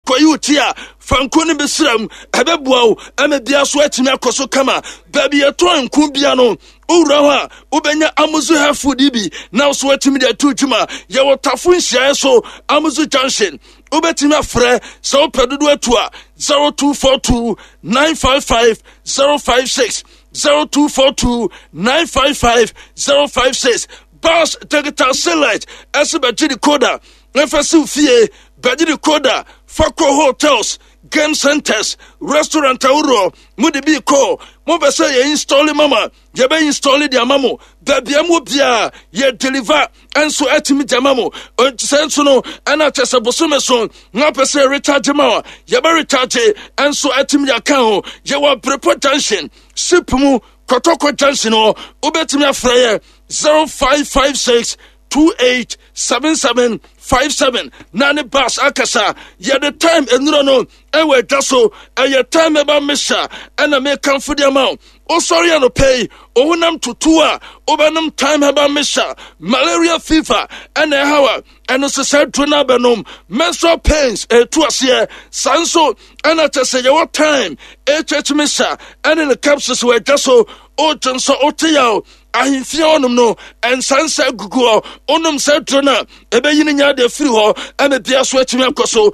Kɔyi wo ti a, fa nku no bi sra mu. Ɛbɛboa wo ama bia so atumi akɔ so kama. Baabi yɛtɔn nku bia no, wowura hɔ a, wobɛnya Amuzu hair food yi bi na wo so atumi de ato dwuma. Yɛwɔ Tafo nhyiaeɛ so, Amuzu Junction. Wobɛtumi afrɛ sɛ wopɛ dodo atu a 0242 955 056 0242 955 056. Bas Digital Satellite ɛsɛ bɛgye decoder Ɛfa siw fie, bɛgye decoder fa kɔ hotels, game centers, restaurant ahoroɔ. Mo de bi kɔ, mo bɛ sɛ yɛ install mama, yɛ bɛ install de ama mo. Baabi a mo biara yɛ deliver nso atumi de ama mo. Sɛ nso no, ɛna kyɛ sɛ bosome so na pɛ sɛ recharge ma wa, yɛ bɛ recharge nso atumi de aka ho. Yɛ wɔ Brepɔ Junction, ship mu, Kɔtɔkɔ Junction hɔ. Wobɛtumi afrɛ yɛ 0556 287757 na ne bus akasa. Yɛde time nnuro no ɛwɔ adwa so. Ɛyɛ time ɛba mesa ɛna mekamfo de ama wo. Wosɔre anɔpɛ yi ohonam tutu a, wobɛnom time herbal mixture. Malaria fever ɛna ɛhaw a, ɛno nso sɛ duro no abɛnom. Menstrual pains ɛtu aseɛ. Saa nso ɛna kyɛ sɛ yɛwɔ time hh mixture ɛne ne capsules wɔ adwa so. Wogye nso wote yaw ahemfie hɔnom no, nsansa gugu hɔ. Wonom saa duro no a, ɛbɛyi ne nya de afiri hɔ ɛna bia so atumi akɔ so.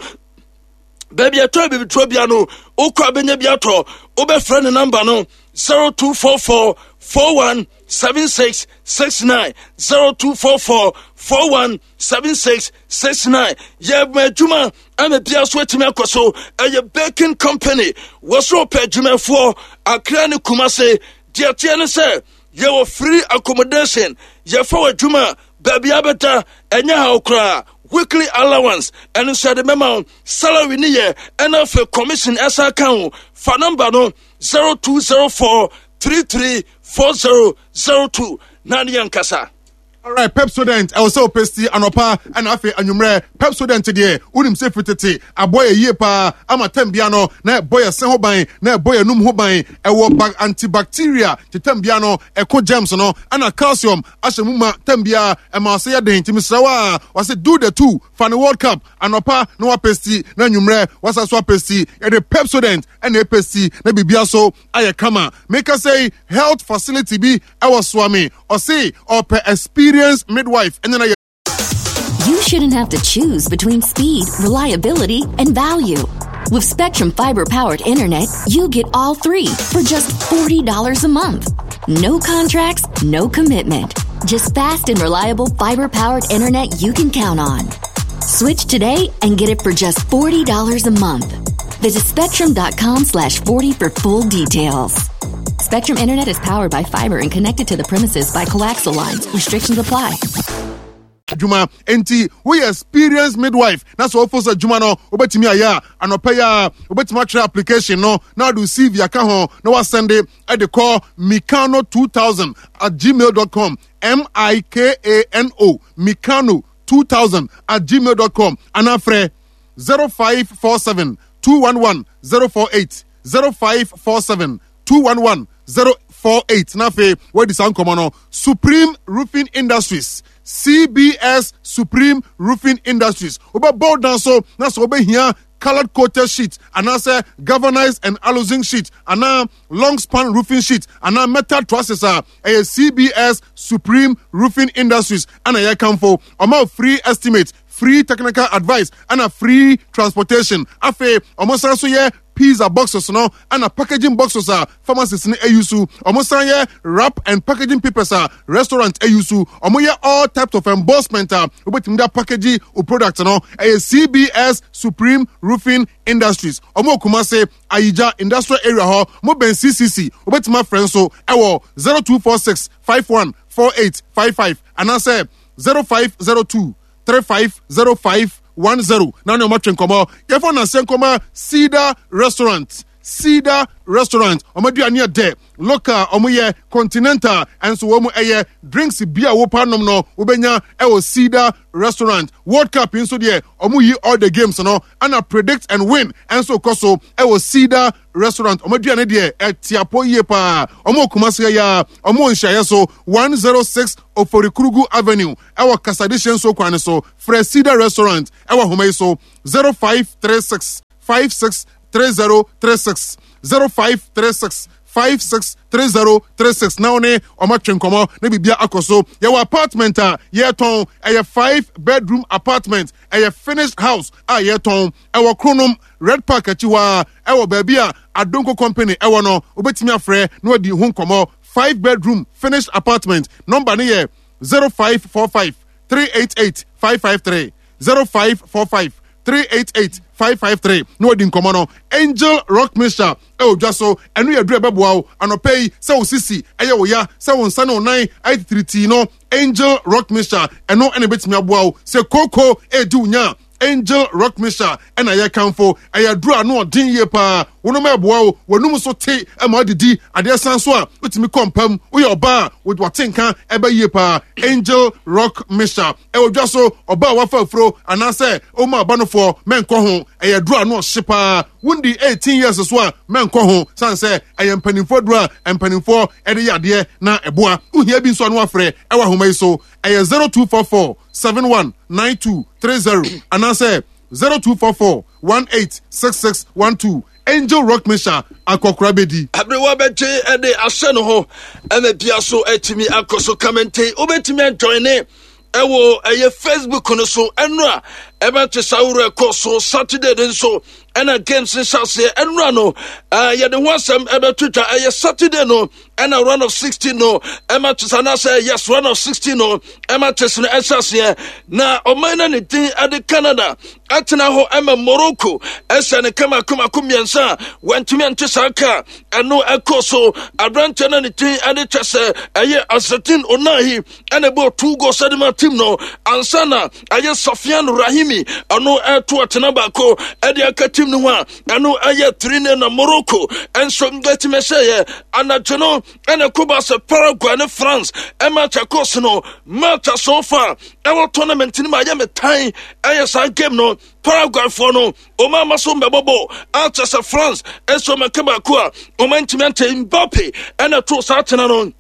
Baabi ɛtɔ abibiduro bia no, wokɔ abɛnya bi atɔ. Wobɛfrɛ ne namba no 0244 41 76 69 0244 41 76 69. Yɛ ma adwuma ɛna bia so atumi akɔ so. Ɛyɛ baking company, wɔsoro pɛ adwumafoɔ Accra ne Kumase. Deɛ teɛ ne sɛ yɛwɔ free accommodation, yɛfa wɔ adwuma baabi abɛda, ɛnyɛ haw koraa. Weekly allowance ɛno nso yɛde mɛma wo. Salary ne yɛ ɛna afei commission ɛsan ka ho. Fa number no 0204 334002 na ne yɛn kasa. Alright, Pepsodent, ɛwɔ sɛ wopesti anɔpa ɛna afei anwummerɛ. Pepsodent deɛ, wonim sɛ firi tete aboa yɛ yie paa ama tɛm bia no na ɛbɔ yɛ se ho ban, na ɛbɔ yɛ num ho ban. Ɛwɔ ba antibacteria te tɛm bia no ɛko germs no, ɛna calcium ahyɛ mu ma tɛm bia ɛma ɔse yɛ den. Nti mesrɛ wo a, wɔse do the two, fa ne World Cup anɔpa na wapesti na anwummerɛ wasa so apesti. Yɛde Pepsodent ɛna ɛpesti na biribia so ayɛ kama. Meka sɛ health facility bi ɛwɔ Suame, ɔse ɔpɛ experienced midwife ɛne na yɛ. You shouldn't have to choose between speed, reliability, and value. With Spectrum Fiber powered internet, you get all three for just $40 a month. No contracts, no commitment. Just fast and reliable fiber powered internet you can count on. Switch today and get it for just $40 a month. Visit spectrum.com/40 for full details. Spectrum Internet is powered by fiber and connected to the premises by coaxial lines. Restrictions apply. Adwuma nti woyɛ experienced midwife na sɛ wofo sɛ adwuma no wobɛtumi ayɛ a, anɔpa yi a wobɛtumi atwerɛ application no na wode CV aka ho na wasɛnde de kɔ mikano2000@gmail.com, m-i-k-a-n-o, mikano2000@gmail.com, anaa frɛ 0547 211 048, 0547 211 048. Na afei wɔadi saa nkɔmmɔ no. Supreme Roofing Industries, CBS Supreme Roofing Industries, wobɛbɔ dan so na sɛ wobɛhia colored coated sheet anaasɛ galvanized and aluzinc sheet anaa long span roofing sheet anaa metal trusses a, ɛyɛ CBS Supreme Roofing Industries ɛna yɛkamfo. Ɔma free estimate, free technical advice ɛna free transportation. Afei ɔmo san so yɛ pizza boxes no ɛna packaging boxes a pharmacies no ayi so. Ɔmo san yɛ wrap and packaging papers a restaurant ayi so. Ɔmo yɛ all types of embossment a wobɛtumi de package o product no. Ɛyɛ CBS Supreme Roofing Industries. Ɔmo Kumase Ayigya Industrial Area hɔ, mo bɛn CCC. Wobɛtumi afrɛ nso ɛwɔ 0246 51 48 55 anaasɛ 0502 350510 na ne ɔmatwe nkɔmmɔ. Yɛfa naseɛ nkɔma Cedar Restaurant. Cedar Restaurant, ɔmo aduane ɛdɛ, local ɔmo yɛ, continental ɛnso wɔn mu ɛyɛ. Drinks bi a wopa nom no wobɛnya ɛwɔ Cedar Restaurant. World Cup nso deɛ, ɔmo yi all the games no ɛna predict and win ɛnso kɔ so ɛwɔ Cedar Restaurant. Ɔmo aduane deɛ ɛtiapɔ yie paa. Ɔmo Kumase yɛ a, ɔmo nhyiaeɛ so 106 Oforikrugu Avenue ɛwɔ Kasadehye nso kwan so. Frɛ Cedar Restaurant ɛwɔ ahoma yi so 0536. 56 3036 0536 56 3036 na wo ne ɔma twe nkɔmmɔ na biribia akɔ so. Yɛwɔ apartment a yɛtɔn, ɛyɛ 5 bedroom apartment, ɛyɛ finished house a yɛtɔn ɛwɔ Kronom Red Park akyi hɔ a, ɛwɔ baabi a Adonko Company ɛwɔ no. Wobɛtumi afrɛ na wadi ho nkɔmmɔ. 5 bedroom finished apartment number ne yɛ 0545 388 553, 0545 388 553 na wadi nkɔmmɔ no. Angel Rock Mixture ɛwɔ dwa so, ɛno yɛ duru ɛbɛboa wo anɔpɛ yi sɛ wo sisi ɛyɛ wo ya, sɛ wo nsa ne wo nan ayɛ titiritii no. Angel Rock Mixture ɛno ɛna ɛbɛtumi aboa wo. Sɛ kooko ɛredi wo nya a, Angel Rock Mixture ɛna yɛkamfo. Ɛyɛ aduru a ano ɔden yie paa. Wonom a ɛboa wo, w'anum so te ma wodidi adeɛ san so a wotumi kɔ mpam. Woyɛ ɔbaa a wate nka ɛbɛ yie paa. Angel Rock Mixture ɛwɔ dwa so. Ɔbaa a wafa afuro anaasɛ ɔma abanofoɔ mɛnkɔ ho. Ɛyɛ aduru a ano ɔhye paa. Wondi 18 years so a mɛnkɔ ho, sane sɛ ɛyɛ mpanimfoɔ aduru a mpanimfoɔ ɛde yɛ adeɛ na ɛboa. Wohia bi nso a no afrɛ ɛwɔ ahoma yi so, ɛyɛ 0244 71 92 30 anaasɛ 0244 18 66 12. Angel Rock Mixture, akɔkora bɛdi. Aberewa bɛgye ɛde ahyɛ ne ho ɛna bia so atumi akɔ so kamente. Wobɛtumi ajoine ɛwɔ ɛyɛ Facebook no so. Ɛno a ɛbɛte saa wura ɛkɔ so Saturday no nso ɛna games no hyɛ aseɛ. Ɛnora no yɛde ho asɛm ɛbɛto dwa. Ɛyɛ Saturday no ɛna round of 16 no ɛma kyes anaasɛ yes, round of 16 no ɛma kyes no ɛhyɛ aseɛ. Na ɔman no ne din ɛde Canada ɛtena hɔ ɛma Morocco ɛhyɛ ne kama komako mmiɛnsa a wɔntumi ante saa ka. Ɛno ɛkɔ so aberanteɛ no ne din ɛde kyɛ sɛ ɛyɛ Azzedine Ounahi ɛna ɛbɔ 2 goals ɛde ma team no ansa na ɛyɛ Sofiane Rahimi ɔno ɛto atena baako ɛde aka team no ho a ɛno ɛyɛ 3-0. Na Morocco ɛnso bɛtumi hyɛeɛ anadwo no. Ɛna ɛkɔba sɛ Paraguay ne France ɛma kyɛkɔs no match so far ɛwɔ tournament no mu ayɛ me tan. Ɛyɛ saa game no, Paraguayfoɔ no ɔma ama so mbɛbɔbɔ akyɛ sɛ France ɛnso mɛka baako a ɔma ntumi ante. Mbappe ɛna to saa tena no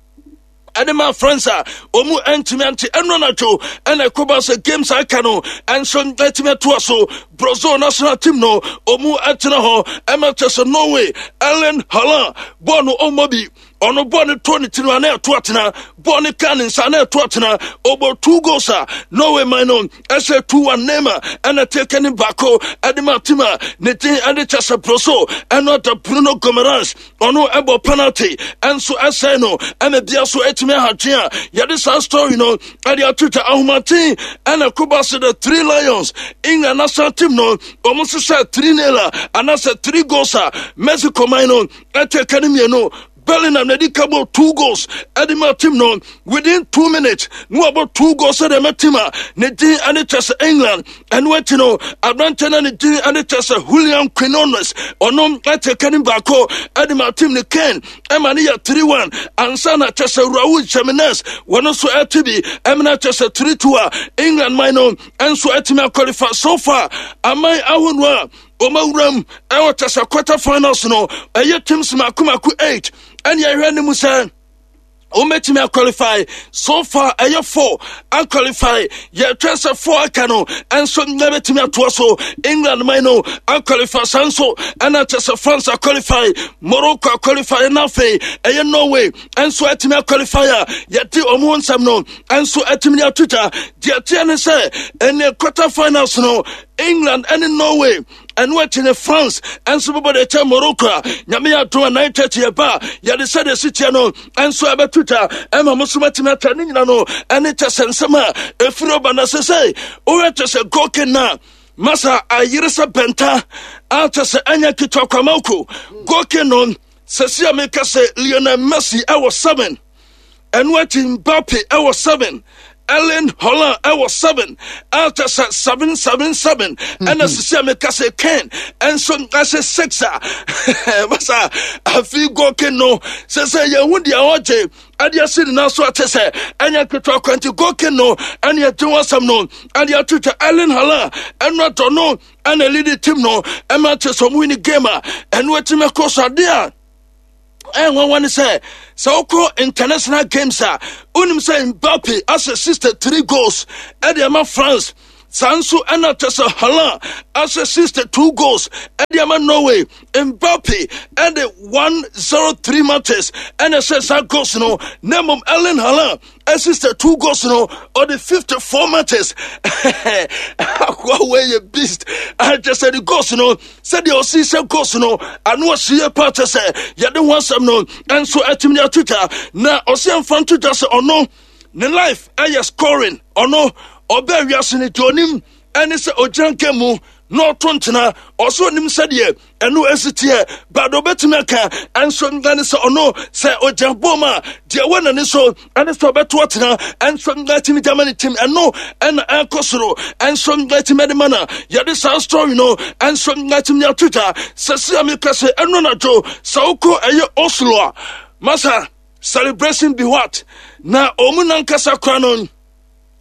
ɛde ma France a wɔn ntumi ante. Ɛno anadwo ɛna ɛkɔba sɛ games aka no ɛnso ɛtumi atoa so. Brazil national team no wɔn ɛtena hɔ ɛma kyɛ sɛ Norway Erling Haaland bɔɔl no ɔmmɔ bi. Ɔno bɔɔl no to ne tirim a na ɛto atena, bɔɔl no ka ne nsa na ɛto atena. Ɔbɔ 2 goals a Norway man no ɛhyɛ 2-1. Neymar ɛna teke ne baako ɛde ma team a ne din ɛde kyɛ sɛ Brazil. Ɛno ada Bruno Guimaraes ɔno ɛbɔ penalty ɛnso ɛsɛe no ɛna bia so ɛtumi ahadwe a yɛde saa story no ɛde ato twa. Ahomaten ɛna koba se the Three Lions, England national team no, wɔn nso hyɛ 3-0 a anaasɛ 3 goals a Mexico man no ɛtɛ ka ne mmienu. Bellingham na ɛdi ka bɔ 2 goals ɛde ma team no within 2 minutes na wabɔ 2 goals ɛde ma team a ne din ɛne kyɛ sɛ England. Ɛno akyi no aberante no ne din ɛne kyɛ sɛ Julian Quinones ɔno ɛte ka ne baako ɛde ma team no. Kane ɛma ne yɛ 3-1 ansa na kyɛ sɛ Raul Jimenez wɔno nso ɛte bi ɛmena kyɛ sɛ 3-2 a England man no ɛnso ɛtumi aqualify. So far aman ahodoɔ a wɔn awuram ɛwɔ kyɛ sɛ quarter finals no ɛyɛ teams mako mako 8 ɛne ɛhwɛ ne mu sɛ wɔmɛtumi aqualify. So far ɛyɛ 4 aqualify. Yɛtwɛn sɛ 4 aka no ɛnso na bɛtumi atoa so. England man no aqualify, saa nso ɛna kyɛ sɛ France aqualify, Morocco aqualify, na afei ɛyɛ Norway ɛnso atumi aqualify a yɛde ɔmo ho nsɛm no ɛnso atumi de ato dwa. Deɛ teɛ ne sɛ ɛne quarter finals no England ɛne Norway, ɛno akyi ne France ɛnso bɛbɔ de kyɛ Morocco a Nyame yɛ adom a 9:30 yɛba a yɛde sɛdeɛ si teɛ no ɛnso ɛbɛto dwa ɛma mo so matumi ata ne nyina no ɛne kyɛ sɛ nsɛm a ɛfiri ɔba. Na sɛ sɛ wohwɛ kyɛ sɛ goke na masa ayere sɛ bɛnta a kyɛ sɛ ɛnyɛ ketewa kwamako goke no sɛsi a meka sɛ Lionel Messi ɛwɔ 7, ɛno akyi Mbappe ɛwɔ 7, Erling Haaland ɛwɔ 7, ɛkyɛ sɛ 7 7 7, ɛna sisi a meka sɛ Kane ɛnso ɛhyɛ 6 a masa afi goke no sɛ sɛ yɛn ho deɛ ɔgye ɛde asi ne nan so ate sɛ ɛnyɛ ketewa kwanti goke no ɛne ɛgye ho asɛm no ɛde ato twa. Erling Haaland ɛno atɔ no ɛna lead team no ɛma kyɛ sɛ ɔmo win game a ɛno atumi akɔ so. Adeɛ a ɛnwanwa ne sɛ sɛ wokɔ international games a wonim sɛ Mbappe ahyɛ 63 goals ɛde ama France. Saa nso ɛna kyɛ sɛ Haaland ahyɛ 62 goals ɛde ama Norway. Mbappe ɛde 103 matches ɛna ɛhyɛ saa goals no, na mmom Erling Haaland 62 goals no ɔde 54 matches. Akoa wei yɛ beast. Akyɛ sɛ de goals no sɛdeɛ ɔsi sɛ goals no ano ɔsi yɛ pa, kyɛ sɛ yɛde ho asɛm no nso atumi de ato dwa, na ɔsi ɛmfa nto dwa sɛ ɔno ne life ɛyɛ scoring. Ɔno ɔbɛɛ wiase no deɛ ɔnim ɛne sɛ ɔgyina nka mu na ɔto ntena. Ɔsɛ ɔnim sɛdeɛ ɛno ɛsi teɛ, but ɔbɛtumi aka ɛnso ɛne sɛ ɔno sɛ ɔgyina bom a, deɛ ɛwɔ n'ani so ɛne sɛ ɔbɛto ɔtena ɛnso ɛtumi de ama ne tim. Ɛno ɛna ɛkɔ soro ɛnso ɛtumi de ma na yɛde saa story no ɛnso ɛtumi de ato dwa. Sɛ si a meka sɛ ɛno anadwo sɛ wokɔ ɛyɛ Oslo a, masa celebration be what na ɔmu nankasa kora no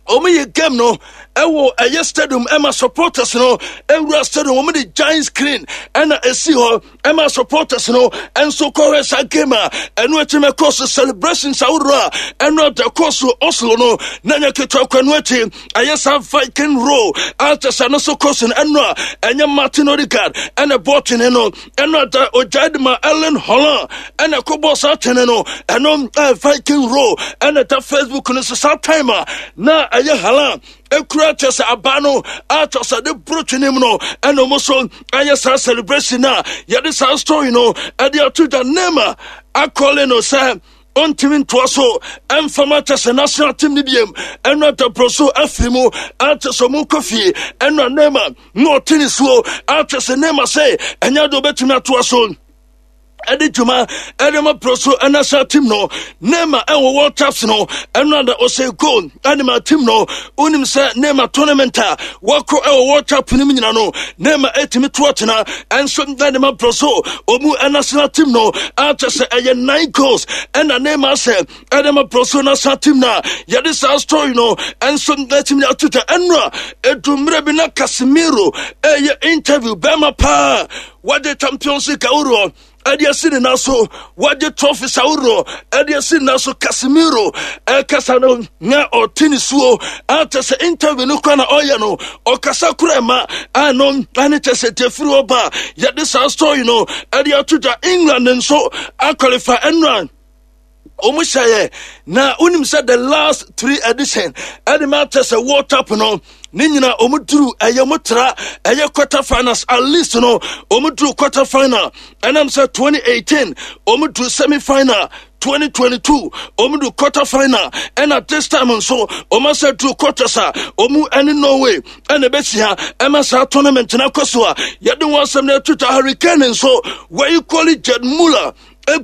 wɔn yɛ game no ɛwɔ ɛyɛ stadium ɛma supporters no ɛwura stadium. Wɔn de giant screen ɛna esi hɔ ɛma supporters no ɛnso kɔhwɛ saa game a ɛno akyi mɛ kɔ so celebrations ahodoɔ a ɛno ada kɔ so Oslo no na nyɛ ketewa kɔ. Ɛno akyi ɛyɛ saa Viking roll a kyɛ sɛ no so kɔ so no, ɛno a ɛnyɛ Martin Odegaard ɛna bɔɔl twene no, ɛno ada ogyae de ma Erling Haaland ɛna ɛkɔbɔɔ saa twene no. Ɛno Viking roll ɛna ɛda Facebook no so. Saa time a na ɛyɛ Haaland ekura kyɛ sɛ aba no atɔ sɛ de boro twene mu no, ɛna ɔmo so ɛyɛ saa celebration a yɛde saa story no ɛde ato dwa. Neymar akɔle no sɛ ɔntumi ntoa so ɛmfama kyɛ sɛ national team no biem. Ɛno adaporo so afiri mu akyɛ sɛ ɔmo kɔ fie. Ɛno a Neymar na ɔte ne suo akyɛ sɛ Neymar sɛ ɛnyɛ de ɔbɛtumi atoa so ɛde dwuma ɛde ma pro so national team no. Neymar ɛwɔ World Cups no, ɛno ada ɔsɛ goal ɛde ma team no. Wonim sɛ Neymar tournament a wɔkɔ ɛwɔ World Cup no mu nyina no, Neymar ɛtumi to atena ɛnso ɛde ma pro so ɔmu national team no, akyɛ sɛ ɛyɛ 9 goals ɛna Neymar sɛ ɛde ma pro so national team no a yɛde saa story no ɛnso ɛtumi ato dwa. Ɛno a ɛdu mmerɛ bi na Casemiro ɛyɛ interview, bɛrima paa wɔde Champions League ahoroɔ ɛde asi ne nan so, wɔde trophies ahoroɔ ɛde asi ne nan so. Casemiro ɛkasa no na ɔte ne suo, akyɛ sɛ interview no kora na ɔyɛ no ɔkasa kora ɛma ano ɛne kyɛ sɛ defiri ɔba. Yɛde saa story no ɛde ato dwa. England nso aqualify ɛnora wɔn hyɛeɛ, na wonim sɛ the last three edition ɛde ma kyɛ sɛ World Cup no ne nyina wɔn duru ɛyɛ wɔn tra ɛyɛ quarter finals. At least no wɔn duru quarter final. Ɛnam sɛ 2018 wɔn duru semi final, 2022 wɔn du quarter final, ɛna this time nso wɔn asɛ duru quarters a wɔn ɛne Norway ɛna ɛbɛhyia ɛma saa tournament no akɔ so a yɛde wɔn asɛm no atuta. Harry Kane nso wɔyi kɔli Gerd Muller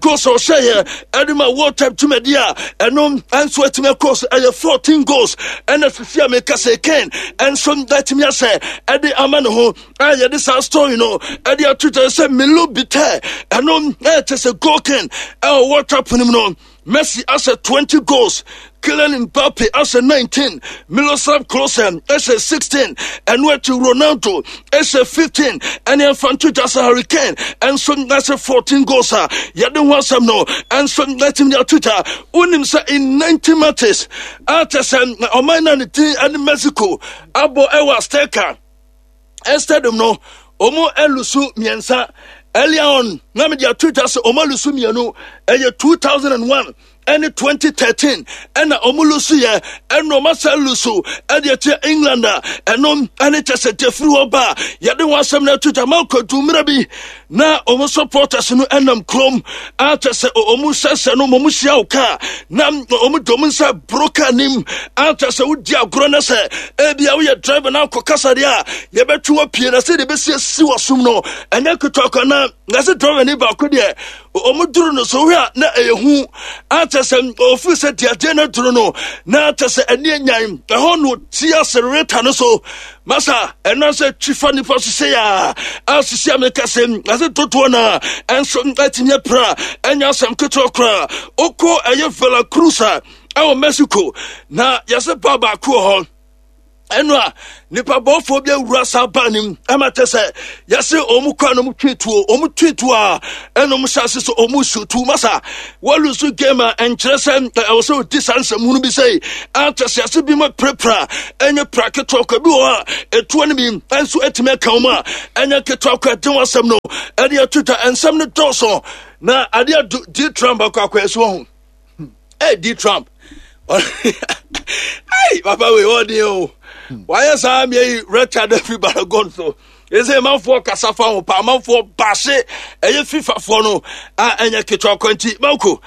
goals a ɔhyɛeɛ ɛde ma World Cup dwumadi a ɛno nso atumi akɔ so ɛyɛ 14 goals, ɛna sisi a meka sɛ Kane nso atumi ahyɛ ɛde ama ne ho a yɛde saa story no ɛde ato dwa sɛ Milo Bitɛ ɛno ɛkyɛ sɛ goal king ɛwɔ World Cup no mu no. Messi ahyɛ 20 goals, Kylian Mbappe ahyɛ 19, Miroslav Klose ahyɛ 16, ɛno akyi Ronaldo ahyɛ 15, ɛne ɛmfa nto dwa sɛ Harry Kane nso ahyɛ 14 goals a yɛde ho asɛm no nso atumi de ato dwa. Wonim sɛ in 90 matches a kyɛ sɛ ɔman no a ne din ne Mexico abɔ ɛwɔ Azteca Stadium no, wɔn alusu mmiɛnsa. Earlier on na mede ato dwa sɛ wɔn alusu mmienu, ɛyɛ 2001 ɛne 2013 ɛna wɔn lusu yɛ, ɛna wɔn asa lusu ɛde akyɛ England a ɛno ɛne kyɛ sɛ gyefiri hɔ ba a yɛde wɔn asɛm no ato dwa ma kɔdu mmerɛ bi na wɔn supporters no ɛnam kurom akyɛ sɛ wɔn sɛsɛ no wɔn hyia wo kaa na wɔn de wɔn nsa boro kaa nim, akyɛ sɛ wodi agorɔ no sɛ ebi a woyɛ driver na akɔ kasa deɛ a yɛbɛtwe wɔ pie na sɛ deɛ bɛsi asi wɔ som no ɛnyɛ ketewa kwa na sɛ driver ne baako deɛ wɔn duru no so wohwɛ a na ɛyɛ hu, akyɛ sɛ ofiri sɛ deɛ adeɛ no duru no na akyɛ sɛ ɛne anyan ɛhɔ no ti asereta no so masa ɛno sɛ twi fa nipa so sɛ a asisi a meka sɛ ase dodoɔ no a ɛnso atumi apira, ɛnyɛ asɛm ketewa koraa. Wokɔ ɛyɛ Veracruz a ɛwɔ Mexico na yɛsɛ ba baako wɔ hɔ. Ɛno a nipa bɔfoɔ bi awura saa baa no mu ɛma kyɛ sɛ yɛse ɔmo kɔ a na ɔmo twe tuo, ɔmo twe tuo a ɛna ɔmo hyɛ ase sɛ ɔmo su tuo. Masa wɔlusu game a ɛnkyerɛ sɛ ɛwɔ sɛ ɔdi saa nsɛm hunu bi sɛ akyɛ sɛ yɛse bi ma pirapira ɛnyɛ pira ketewa kɔ bi wɔ hɔ a ɛtuo no bi nso atumi aka wɔn a ɛnyɛ ketewa kɔ. Ɛde wɔn asɛm no ɛde ato dwa. Nsɛm no dɔɔso na adeɛ di Trump akɔ akɔ ɛso ho. Hey, D Trump. Hey, papa we ɔden o. Wayɛ saa mmea yi Richard afi Baragon so. Ɛsɛ amanfoɔ kasa fa ho pa, amanfoɔ baahye ɛyɛ FIFA foɔ no a ɛnyɛ ketewa kwanti. Manko,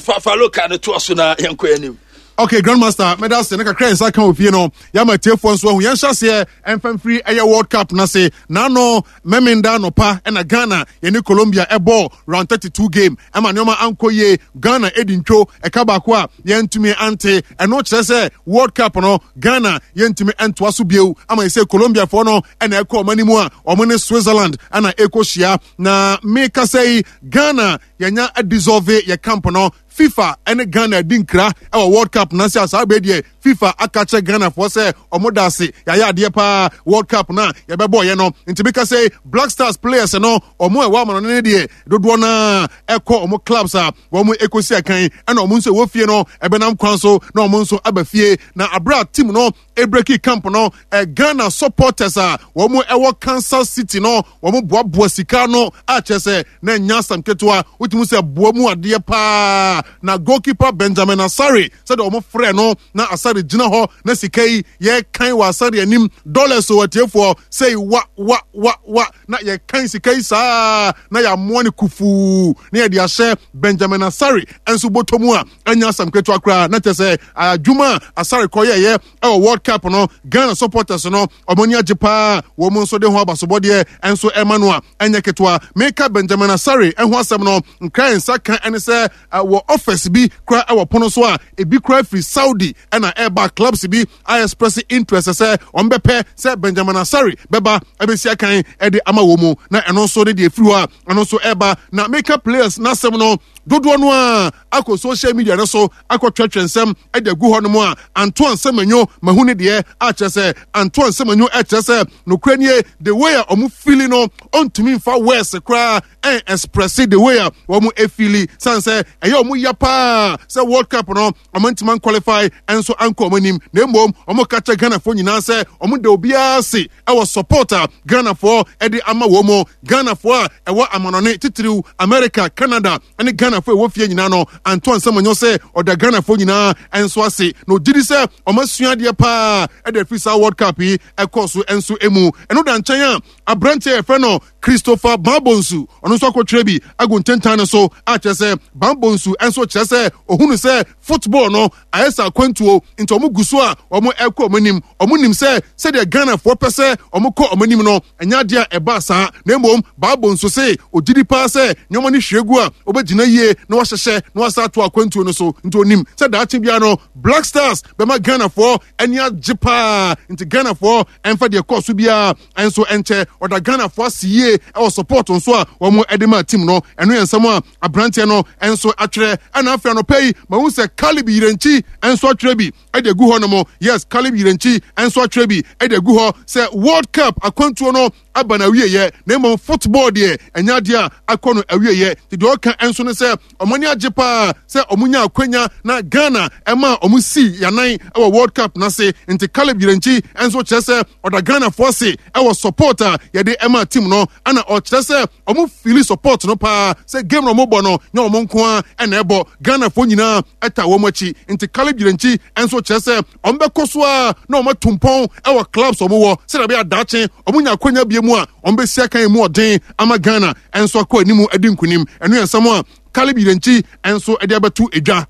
fa fa loka no toa so na yɛnkɔ anim. Okay, Grandmaster, meda ase ne kakra nsa ka ofie no. Yɛama tiefoɔ nso ahu. Yɛnhyɛ aseɛ ɛmfa mfiri ɛyɛ World Cup no ase. N'ano Memenda anɔpa ɛna Ghana yɛne Colombia ɛbɔɔ round 32 game ɛma nneɛma ankɔ yie. Ghana ɛdi ntwo ɛka baako a yɛntumi ante. Ɛno kyerɛ sɛ World Cup no Ghana yɛntumi ɛntoa so bio ama yɛsɛ Colombiafoɔ no ɛna ɛkɔ ɔmo anim a ɔmo ne Switzerland ɛna ɛkɔhyia. Na mekasa yi, Ghana yɛnya dissolve yɛ camp no. FIFA ne Ghana adi nkra wɔ World Cup no ase a saa bere deɛ FIFA aka kyerɛ Ghanafoɔ sɛ ɔmo da ase, yɛayɛ adeɛ paa World Cup no a yɛbɛbɔɔyɛ no. Nti meka sɛ Black Stars players no ɔmo a ɛwɔ amanɔne no deɛ dodoɔ no a ɛkɔ ɔmo clubs a wɔn ɛkɔsi akan, ɛna ɔmo nso ɛwɔ fie no ɛbɛnam kwan so na ɔmo nso aba fie. Na abere a team no ebreki camp no, Ghana supporters a wɔn ɛwɔ Kansas City no wɔn boaboa sika no a kyerɛ sɛ na nya asɛm ketewa, wotumi sɛ boa mu adeɛ paa. Na goalkeeper Benjamin Asare, sɛdeɛ wɔn frɛ no, na Asare gyina hɔ na sika yi yɛkan wɔ Asare anim, dollars o atiefoɔ, sɛ wa wa wa wa na yɛkan sika yi saa na yɛamoa no kufuu na yɛde ahyɛ Benjamin Asare nso bɔtɔ mu a ɛnyɛ asɛm ketewa koraa. Na kyerɛ sɛ adwuma a Asare kɔyɛyɛ ɛwɔ World Cup no, Ghana supporters no ɔmo ani agye paa, wɔn nso de ho abasobɔdeɛ nso ɛma no a ɛnyɛ ketewa. Meka Benjamin Asare ɛho asɛm no, nkra nsa ka ɛne sɛ wɔ offers bi kora ɛwɔ pono so a ebi kora firi Saudi ɛna ɛba, clubs bi a express interest sɛ wɔn bɛpɛ sɛ Benjamin Asare bɛba ɛbɛsi akan ɛde ama wɔn mu, na ɛno nso ne deɛ efiri hɔ a ɛno nso ɛba. Na meka players n'asɛm no, dodoɔ no a akɔ social media no so akɔtwerɛtwerɛ nsɛm de agu hɔ nom a Antoine Semenyo mahu ne deɛ akyerɛ sɛ Antoine Semenyo ɛkyerɛ sɛ nokorɛ nie, the way a ɔmo feeli no ɔntumi mfa words koraa ɛn express the way a wɔn efeeli, san sɛ ɛyɛ ɔmo ya paa sɛ World Cup no ɔmo ntoma qualify ɛnso ankɔ ɔmo anim. Na mmom ɔmo ka kyerɛ Ghanafoɔ nyinaa sɛ ɔmo da obiara ase ɛwɔ support a Ghanafoɔ ɛde ama wɔn mu, Ghanafoɔ a ɛwɔ amanɔne titiriw America, Canada ɛne Ghanafoɔ ɛwɔ fie nyinaa no. Antoine Semenyo sɛ ɔda Ghanafoɔ nyinaa ɛnso ase na ɔgye di sɛ ɔmo asua adeɛ paa ɛde afiri saa World Cup yi ɛkɔɔ so ɛnso emu. Ɛno da nkyɛn a, aberanteɛ yɛfrɛ no Christopher Bambonsu, ɔno nso akɔtwerɛ bi agu ntentan no so a kyerɛ sɛ Bambonsu nso kyerɛ sɛ ohunu sɛ football no ayɛ sɛ akwantuo, nti wɔn gu so a wɔn ɛkɔ wɔn anim. Wɔn nim sɛ sɛdeɛ Ghanafoɔ pɛ sɛ wɔn kɔ wɔn anim no ɛnyɛ adeɛ a ɛba saa, na mmom Bambonsu se ogye di paa sɛ nneɛma no hwie gu a wɔbɛgyina yie na wɔahyehyɛ na wɔasa ato akwantuo no so, nti onim sɛ daakye biara no Black Stars bɛma Ghanafoɔ ani agye paa, nti Ghanafoɔ ɛmfa deɛ kɔɔ so biara nso nkyɛ. Ɔda Ghanafoɔ ase yie ɛwɔ support nso a wɔn de ma team no. Ɛno yɛ nsɛm a aberanteɛ no nso atwerɛ. Ɛna afei anɔpa yi mahu sɛ Caleb Yirenkyi nso atwerɛ bi ɛde agu hɔ nom. Yes, Caleb Yirenkyi nso atwerɛ bi ɛde agu hɔ sɛ World Cup akwantuo no aba na awieyɛ, na mmom football deɛ ɛnyɛ adeɛ a akɔ no awieyɛ. Nti deɛ ɔka nso no sɛ ɔmo ani agye paa sɛ ɔmo nya akwanya na Ghana ɛma ɔmo si yanan ɛwɔ World Cup n'ase. Nti Caleb Yirenkyi nso kyerɛ sɛ ɔda Ghanafoɔ ase ɛwɔ support a yɛde ɛma team no, ɛna ɔkyerɛ sɛ ɔmo feeli support no paa sɛ game na ɔmo bɔ no nyɛ ɔmo nko ara ɛna ɛbɔ, Ghanafoɔ nyinaa ɛta wɔn akyi. Nti Caleb Yirenkyi nso kyerɛ sɛ ɔmo bɛkɔ so a na ɔmo atu mpɔn ɛwɔ clubs ɔmo wɔ sɛdeɛ ɛbɛyɛ adaakye ɔmo nya akwanya bie mu a ɔmo bɛsi akan mu ɔden ama Ghana nso akɔ anim adi nkunim. Ɛno yɛ nsɛm a Caleb Yirenkyi nso de abɛto edwa.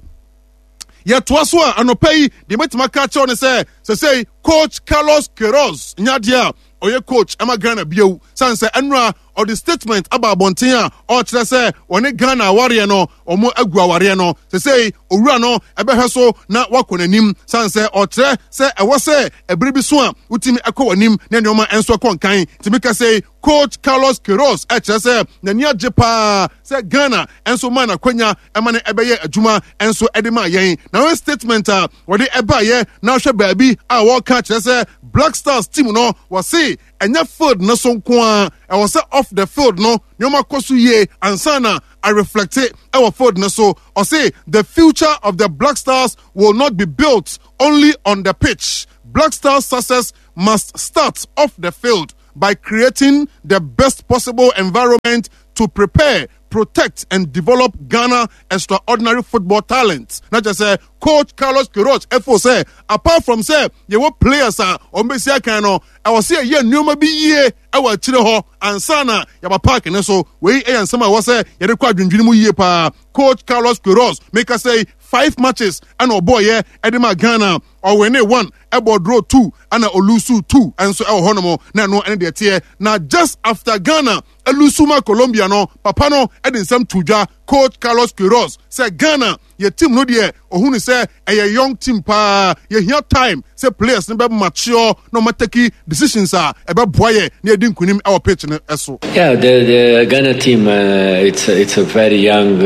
Yɛtoa so a, anɔpa yi deɛ mɛtumi aka akyerɛw ne sɛ sɛsɛi coach Carlos Queiroz nya adeɛ a ɔyɛ coach ɛma Ghana bio, sane sɛ ɛnora ɔde statement aba abɔnten a ɔkyerɛ sɛ wɔne Ghana awareɛ no wɔn agu awareɛ no sesei owura no ɛbɛhwɛ so na wakɔ n'anim san sɛ ɔkyerɛ sɛ ɛwɔ sɛ ɛbere bi so a wotumi ɛkɔ w'anim na nneɛma nso ɛkɔ nkan tumi kɛsɛ coach Carlos Queiroz ɛkyerɛ sɛ n'ani agye paa sɛ Ghana nso maa n'akwanya ɛma no ɛbɛyɛ adwuma nso ɛde maa yɛn na wɔn statement a wɔde ɛbaayɛ na ahwɛ baabi a wɔka kyerɛ sɛ Black Stars team no wɔse ɛnyɛ field no so nko ara ɛwɔ sɛ off the field no nneɛma kɔ so yie ansa na areflecte ɛwɔ field no so. Ɔse the future of the Black Stars will not be built only on the pitch. Black Stars success must start off the field by creating the best possible environment to prepare, protect and develop Ghana extraordinary football talent. Na kyerɛ sɛ coach Carlos Queiroz ɛfo sɛ apart from sɛ yɛwɔ players a wɔn bɛsi akan no, ɛwɔ sɛ yɛyɛ nneɛma bi yie ɛwɔ akyire hɔ ansa na yɛaba park ne so. Wei ɛyɛ nsɛm a ɛwɔ sɛ yɛde kɔ adwendwene mu yie paa. Coach Carlos Queiroz meka sɛ five matches ɛna ɔbɔɔyɛ ɛde ma Ghana. Ɔwene one, ɛbɔ draw two, ɛna olusu two nso ɛwɔ hɔnom na ɛno ɛne deɛ teɛ. Na just after Ghana elusu ma Colombia no, papa no ɛde nsɛm to dwa, coach Carlos Queiroz, sɛ Ghana yɛ team no deɛ ohunu sɛ ɛyɛ young team paa, yɛhia time sɛ players no bɛ mature na wɔn atake decisions a ɛbɛboa yɛ na yɛdi nkunim ɛwɔ pitch no ɛso. Yeah, the Ghana team, it's a very young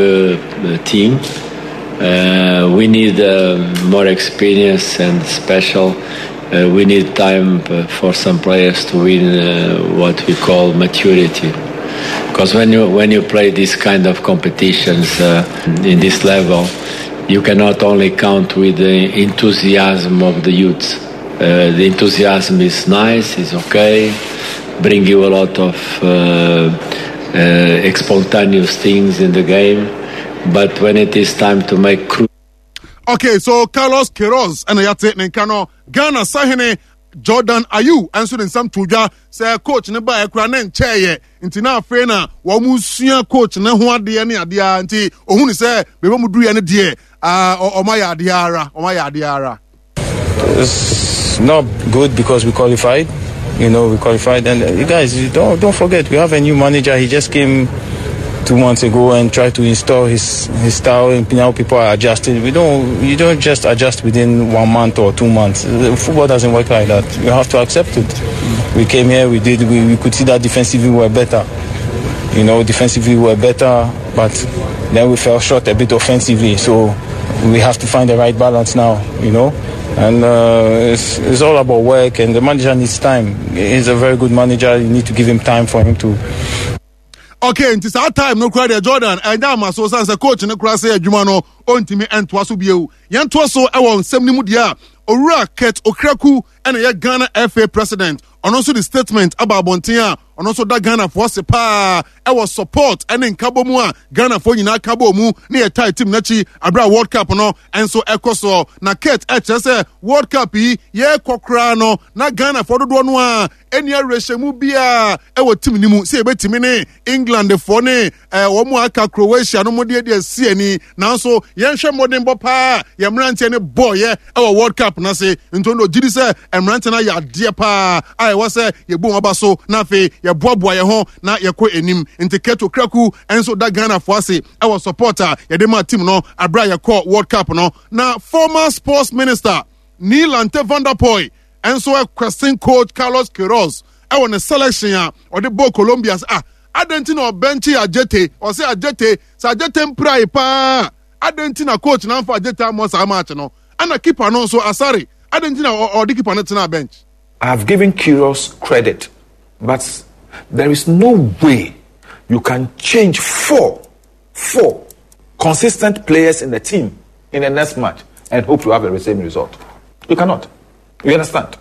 team. We need more experience and special. We need time for some players to win what we call maturity. Because when you play this kind of competitions in this level, you cannot only count with the enthusiasm of the youth. The enthusiasm is nice, is okay, bring you a lot of spontaneous things in the game, but when it is time to make Okay, so Carlos Queiroz ɛna yate ne nka no. Ghana sahene Jordan Ayew nso de nsɛm to dwa sɛ coach ne baeɛ koraa ne nkyɛeɛ nti na afei na wɔn sua coach ne ho adeɛ ne adeɛ nti ohun sɛ baabi wɔn duruiɛ no deɛ wɔn ayɛ adeɛ ara, wɔn ayɛ adeɛ ara. It's not good because we qualified. We qualified, and you guys, you don't forget we have a new manager. He just came 2 months ago and tried to install his style, and now people are adjusting. We don't, you don't just adjust within 1 month or 2 months. Football doesn't work like that. You have to accept it. We came here, we could see that defensively we were better. Defensively we were better, but then we fell short a bit offensively. So we have to find the right balance now, And it's all about work, and the manager needs time. He's a very good manager. You need to give him time for him to. Okay, nti saa time no kura deɛ Jordan ɛnya ama so san sɛ coach no kura sɛ adwuma no ontimi ɛntoa so bio. Yɛntoa so ɛwɔ nsɛm no mu deɛ a Owura Kurt Okraku ɛna yɛ Ghana FA president. Ɔno nso de statement aba abɔnten a ɔno nso da Ghanafoɔ ase paa ɛwɔ support ɛne nkabɔ mu a Ghanafoɔ nyinaa ka bɔ mu ne yɛ tie team n'akyi abere a World Cup no nso ɛkɔ soɔ. Na Kurt ɛkyerɛ sɛ World Cup yi yɛrekɔ koraa no na Ghanafoɔ dodoɔ no a ɛni awerɛhyɛmu biara ɛwɔ team no mu sɛ yɛbɛtumi ne Englandfoɔ ne wɔn a aka Croatia no mo deɛ deɛ si ani, nanso yɛnhwɛ mmɔdenbɔ paa yɛn mmeranteɛ no bɔɔyɛ ɛwɔ World Cup no ase. Nti ɔno ɔgye di sɛ mmeranteɛ no ayɛ adeɛ paa a ɛwɔ sɛ yɛbu wɔn aba so na afei yɛboaboa yɛn ho na yɛkɔ anim. Nti Kurt Okraku nso da Ghanafoɔ ase ɛwɔ support a yɛde maa team no abere a yɛkɔ World Cup no. Na former sports minister Nii Lante Vanderpuye nso question coach Carlos Queiroz ɛwɔ ne selection a ɔde bɔɔ Colombia sɛ, adɛn nti na ɔbɛnkye Adjetey? Ɔsɛ Adjetey, sɛ Adjetey mpirae paa, adɛn nti na coach na amfa Adjetey ammɔ saa match no? Ɛna keeper no nso, Asare, adɛn nti na ɔde keeper no tenaa bench? I have given Queiroz credit, but there is no way you can change four consistent players in the team in the next match and hope to have the same result. You cannot. You understand?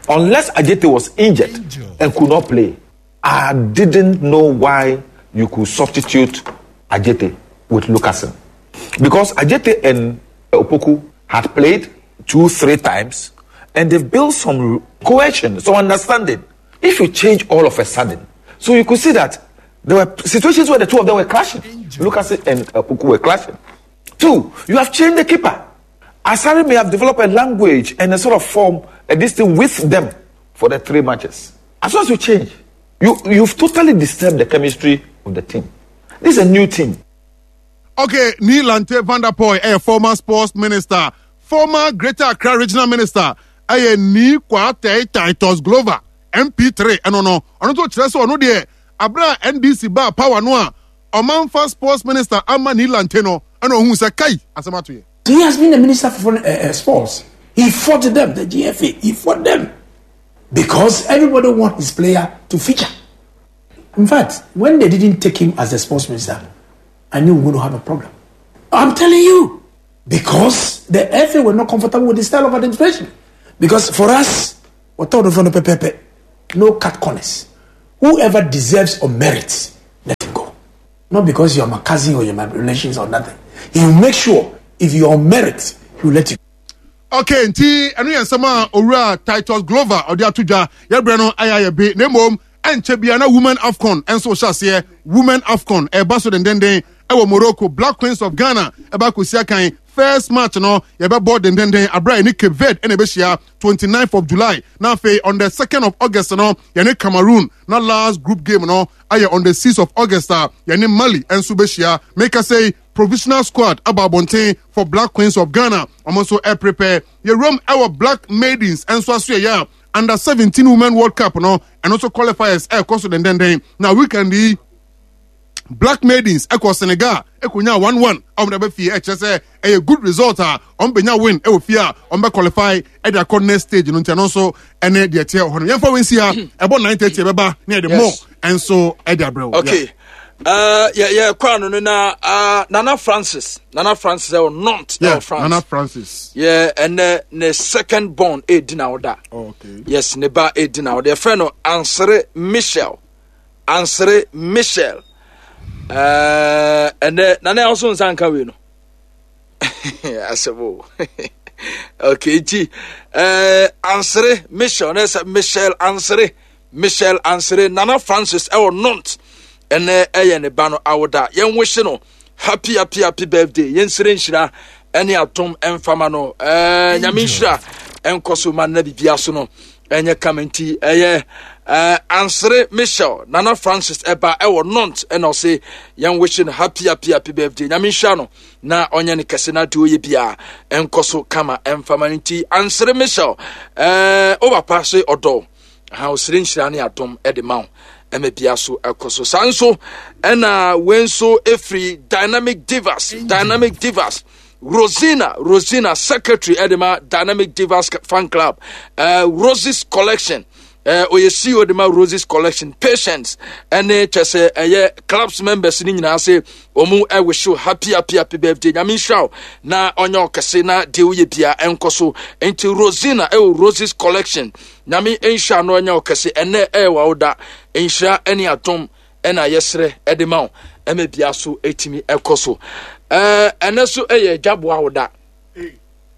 Unless Adjetey was injured and could not play, I didn't know why you could substitute Adjetey with Luckassen. Because Adjetey and Opoku had played 2-3 times and they've built some cohesion, some understanding. If you change all of a sudden, so you could see that there were situations where the two of them were clashing. Luckassen and Opoku were clashing. 2, you have changed the keeper. Asare may have developed a language and a sort of form, this thing with them for the 3 matches. As soon as you change, You, you've totally disturbed the chemistry of the team. This is a new team. Okay, Nii Lante Vanderpuye ɛyɛ former sports minister, former Greater Accra regional minister ɛyɛ Nii Kwatei Titus Glover, MP3 ɛno no, ɔno nso kyerɛ sɛ ɔno deɛ abere a NDC baa power no a ɔmanfa sports minister ama Nii Lante no ɛna ohun sɛ kai asɛm ato yɛ. He has been the minister for uh, sports. He fought them, the GFA. He fought them because everybody wants his player to feature. In fact, when they didn't take him as the sports minister, I knew we were going to have a problem. I'm telling you, because the FA were not comfortable with the style of administration. Because for us, we're told no cut corners. Whoever deserves or merits, let him go. Not because you're my cousin or you're my relations or nothing. He will make sure if you're on merit, he will let you okay nti ɛno yɛ nsɛm a owura titus glover ɔde ato dwa yɛbrɛ no ayɛ ayɛ be na mmom ɛnkyɛ bia na women afcon nso hyɛ aseɛ women afcon ɛba so dendenden ɛwɔ morocco black queens of ghana ɛba akɔsi akan first match no yɛbɛbɔ dendenden abira yɛne cape verde ɛna ɛbɛhyia 29th of july na afei on the 2nd of august no yɛne cameroon na last group game no ayɛ on the 6th of august a yɛne mali nso bɛhyia meka sɛ provisional squad aba abɔnten for black queens of ghana wɔn nso ɛprepare yɛwuram ɛwɔ black maidens nso aso yɛyɛ a under 17 women world cup no ɛno nso qualifiers ɛrekɔ so dendenden na weekend yi black maidens ɛkɔ senegal ɛkɔnya 1-1 a wɔn de aba fie ɛkyerɛ sɛ ɛyɛ good result a wɔn bɛnya win ɛwɔ fie a wɔn bɛ qualify ɛde akɔ next stage no nti ɛno nso ɛne deɛ ɛteɛ wɔ hɔ no yɛmfa wɔn nsi ha ɛbɔ 9:30 ɛbɛba ne yɛde more ɛnso ɛde abrɛ wɔ. okay uh, yɛ yɛ kɔ ano no na uh, nana francis nana francis ɛwɔ nont yeah, ɛwɔ france nana francis yɛ ɛnɛ ne second born ɛredi na ɔda oh, okay. yes ne ba ɛredi na ɔda yɛfrɛ no ansere michel ansere michel ɛnɛ uh, nana ɛwɔ so nsa nka wei no asɛm o okay nti uh, ansere michel ne sɛ michel ansere Michelle Ansere, Nana Francis ɛwɔ Nont ɛnɛ ɛyɛ ne ba no awoda. Yɛn wihye no happy happy happy birthday. Yɛn sere nhyira ɛne atom ɛmfama no. Ɛɛ nyame nhyira ɛnkɔ so ma na bibia so no ɛnyɛ kama nti ɛyɛ ɛɛ Ansere Michelle Nana Francis ɛba ɛwɔ Nont ɛna ɔse yɛn wihye no happy happy happy birthday. Nyame nhyira no na ɔnyɛ no kɛse na deɛ ɔyɛ biara ɛnkɔ so kama ɛmfama no nti Ansere Michelle ɛɛ o papa se ɔdɔ ha ɔsrɛ nhyira ne adom de ma wo ɛma bia so ɛkɔ so saa nso ɛna wei nso ɛfiri dynamic divas dynamic divas rosina rosina secretary ɛde ma dynamic divas fan club uh, roses collection uh, ɔyɛ ceo de ma roses collection patients ɛne kyɛ sɛ ɛyɛ clubs members ne nyinaa se wɔn ɛwehyew happy happy happy birthday nyame nhyira wo na ɔnyɛ ɔkɛse na deɛ woyɛ bia ɛnkɔ so nti rosina ɛwɔ roses collection Nyame nhyira no ɛnyɛ wo kɛse ɛnɛ ɛyɛ w'awoda nhyira ɛne adom ɛna yɛsrɛ ɛde ma wo ɛma bia so ɛtumi ɛkɔ so ɛɛ ɛnɛ so ɛyɛ agyaboɔ awoda.